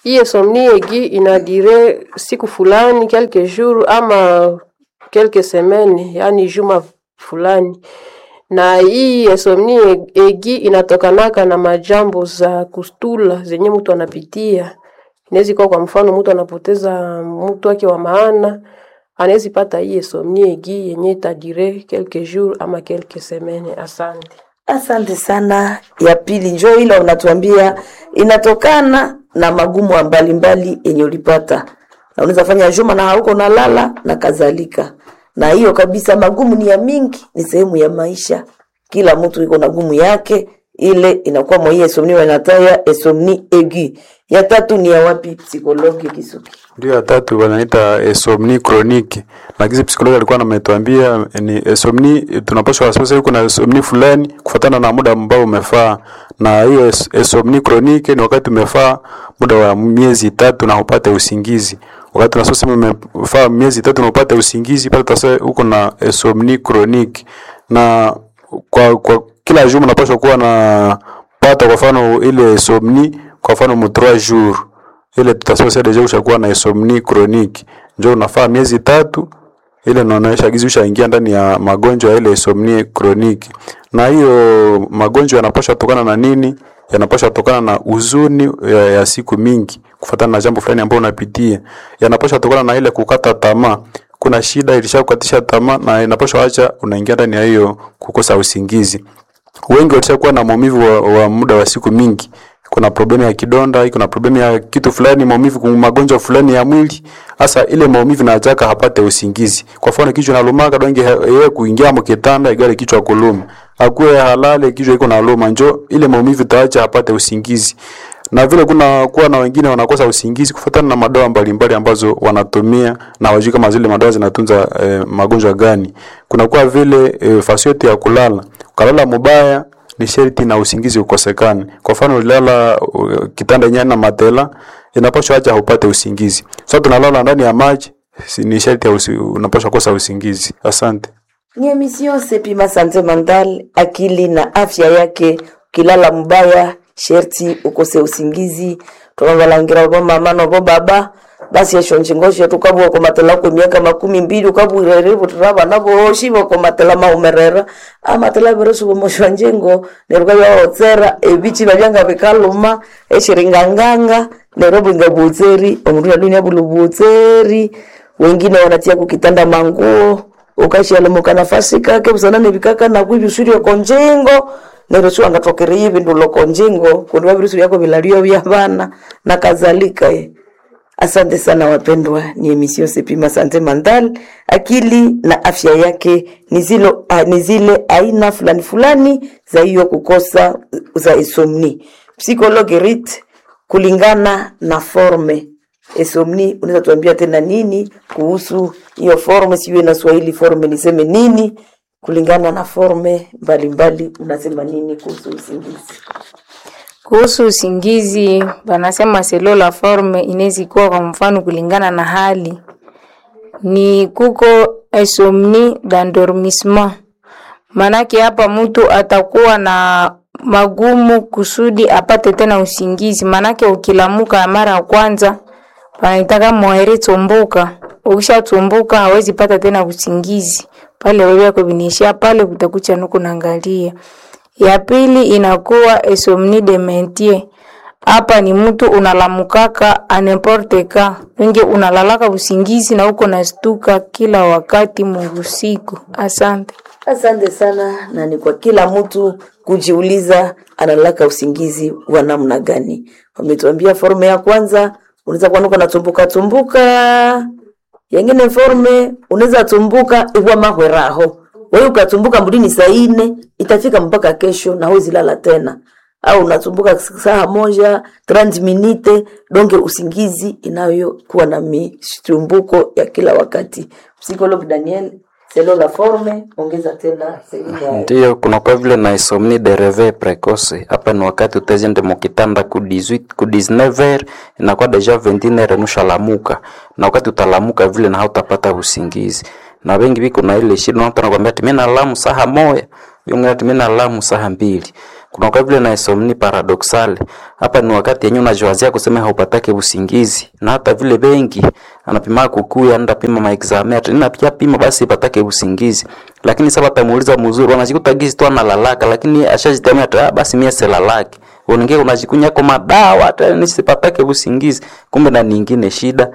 Hii insomnie aiguë inadire siku fulani, quelques jours ama quelques semaines, yani juma fulani. Na hii insomnie aiguë inatokanaka na majambo za kustula zenye mtu anapitia. Inaweza kuwa kwa mfano mtu anapoteza mtu wake wa maana, anaweza pata hii insomnie aiguë yenye itadire quelques jours ama quelques semaines. Asante. Asante sana. Ya pili njo ile unatuambia inatokana na magumu mbalimbali yenye ulipata, na unaweza fanya juma na hauko nalala na kadhalika. Na hiyo kabisa, magumu ni ya mingi, ni sehemu ya maisha. Kila mtu iko na gumu yake, ile inakuwa mwa hii insomnie wanataya insomnie aiguë. Ya tatu ni ya wapi, psychologue Kisuki? Ndio, ya tatu wanaita insomnie chronique, na kisi psikologi alikuwa ametuambia ni insomnie, tunapaswa sasa yuko na insomnie fulani kufuatana na muda ambao umefaa, na hiyo ins- insomnie chronique ni wakati umefaa muda wa miezi tatu na upate usingizi. Wakati unasema umefaa miezi tatu na upate usingizi, pale sasa uko na insomnie chronique, na kwa, kwa kila juma unapaswa kuwa na pata kwa mfano ile insomnie kwa mfano mu trois jours ile tutasema sasa deja ushakuwa na insomnie chronique, njo unafaa miezi tatu, ile inaonyesha gizi ushaingia ndani ya magonjwa ya ile insomnie chronique. Na hiyo magonjwa yanapaswa tokana na nini? Yanapaswa tokana na huzuni ya, ya siku mingi kufuatana na jambo fulani ambalo unapitia. Yanapaswa tokana na ile kukata tamaa. Kuna shida ilishakukatisha tamaa na inapaswa acha unaingia ndani ya hiyo kukosa usingizi. Wengi walishakuwa na maumivu wa, wa muda wa siku mingi. Kuna problemu ya kidonda, kuna problemu ya kitu fulani, maumivu, kuna magonjwa fulani ya mwili. Hasa ile maumivu na ataka hapate usingizi. Kwa mfano kichwa nalumaka donge yeye kuingia mkitanda igale kichwa kuluma. Akuwe halale kichwa iko naluma, njo ile maumivu taacha hapate usingizi. Na vile kuna kuwa na wengine wanakosa usingizi kufuatana na madawa mbalimbali ambazo wanatumia na wajui kama zile madawa zinatunza eh, magonjwa gani. Kuna kuwa vile eh, fasi yote ya kulala. Ukalala mubaya ni sherti na usingizi ukosekane. Kwa mfano ulilala uh, kitanda yenye na matela inapaswa acha upate usingizi. Sasa tunalala ndani ya maji si- ni sherti ya usi, unapaswa kosa usingizi. Asante. Ni emission Sepima Sante Mental, akili na afya yake. Ukilala mbaya sherti ukose usingizi. Tunabalangira bo mama no bo baba basi esho njingosho tukabwa komatela ku miaka makumi mbili ukabwirere butiraba nabo shibo komatela maumerera amatela beresu bomoshwa njengo neruka yaotsera ebichi babyanga bikaluma eshiringanganga nero bwinga butseri omundu yadunia bulu butseri wengine wanatia kukitanda manguo ukashialemuka nafasi kake busana nebikaka nakwibisurio konjengo neryo siwangathokereya ebindu lokonjengo kundi wabirisu yako bilalio bya bana na kadhalika eh. Asante sana wapendwa, ni emission Sepima Sante Mental, akili na afya yake ni zilo, ah, ni zile aina fulani fulani za hiyo kukosa za insomnie. Psychologue Rit, kulingana na forme insomnie, unaweza tuambia tena nini kuhusu hiyo forme? Sijui na Swahili forme niseme nini? Kulingana na forme mbalimbali, unasema nini kuhusu usingizi? Kuhusu usingizi, wanasema selo la forme inaweza kuwa kwa mfano kulingana na hali ni kuko insomnie d'endormissement. Manake hapa mtu atakuwa na magumu kusudi apate tena usingizi, manake ukilamuka mara ya kwanza panaitaka mwaere tumbuka, ukishatumbuka hawezi pata tena usingizi pale, wewe yako vinaishia pale, utakucha nuko naangalia. Ya pili inakuwa insomnie de maintien. Hapa ni mtu unalamukaka a n'importe quand, wengi unalalaka usingizi na uko nastuka kila wakati muusiku. Asante. Asante sana, na ni kwa kila mtu kujiuliza analaka usingizi wa namna gani. Wametuambia forme ya kwanza unaweza kuwa nuko natumbuka tumbuka, yengine forme unaweza tumbuka iwa mahweraho wewe ukatumbuka mbulini saa ine itafika mpaka kesho na huwezi lala tena, au unatumbuka saa moja trente minute donge usingizi inayokuwa na mitumbuko ya kila wakati. Psychologue Daniel, Selon la forme, ongeza tena sehemu ya Ndiyo, kunakuwa vile na insomnie de réveil précoce. Hapa ni wakati utaziende mukitanda ku dix-huit ku dix-neuf heures inakuwa déjà vingt et une heures nushalamuka, na wakati utalamuka vile na hautapata usingizi. Na wengi biko na ile shida, mtu anakuambia ati mimi nalamu saha moya, yule ati mimi nalamu saha mbili. Kunakuwa vile na insomnie paradoxale. Hapa ni wakati yenyewe unajiwazia kusema haupatake usingizi, na hata vile benki anapima kukuya anda pima maexame ati nina pia pima basi ipatake usingizi, lakini sasa batamuuliza mzuri, wanajikuta gizi tu analalaka, lakini ashajitamia ati ah, basi mie silalaki uningie unajikunya kwa madawa hata nisipatake usingizi, kumbe na nyingine shida.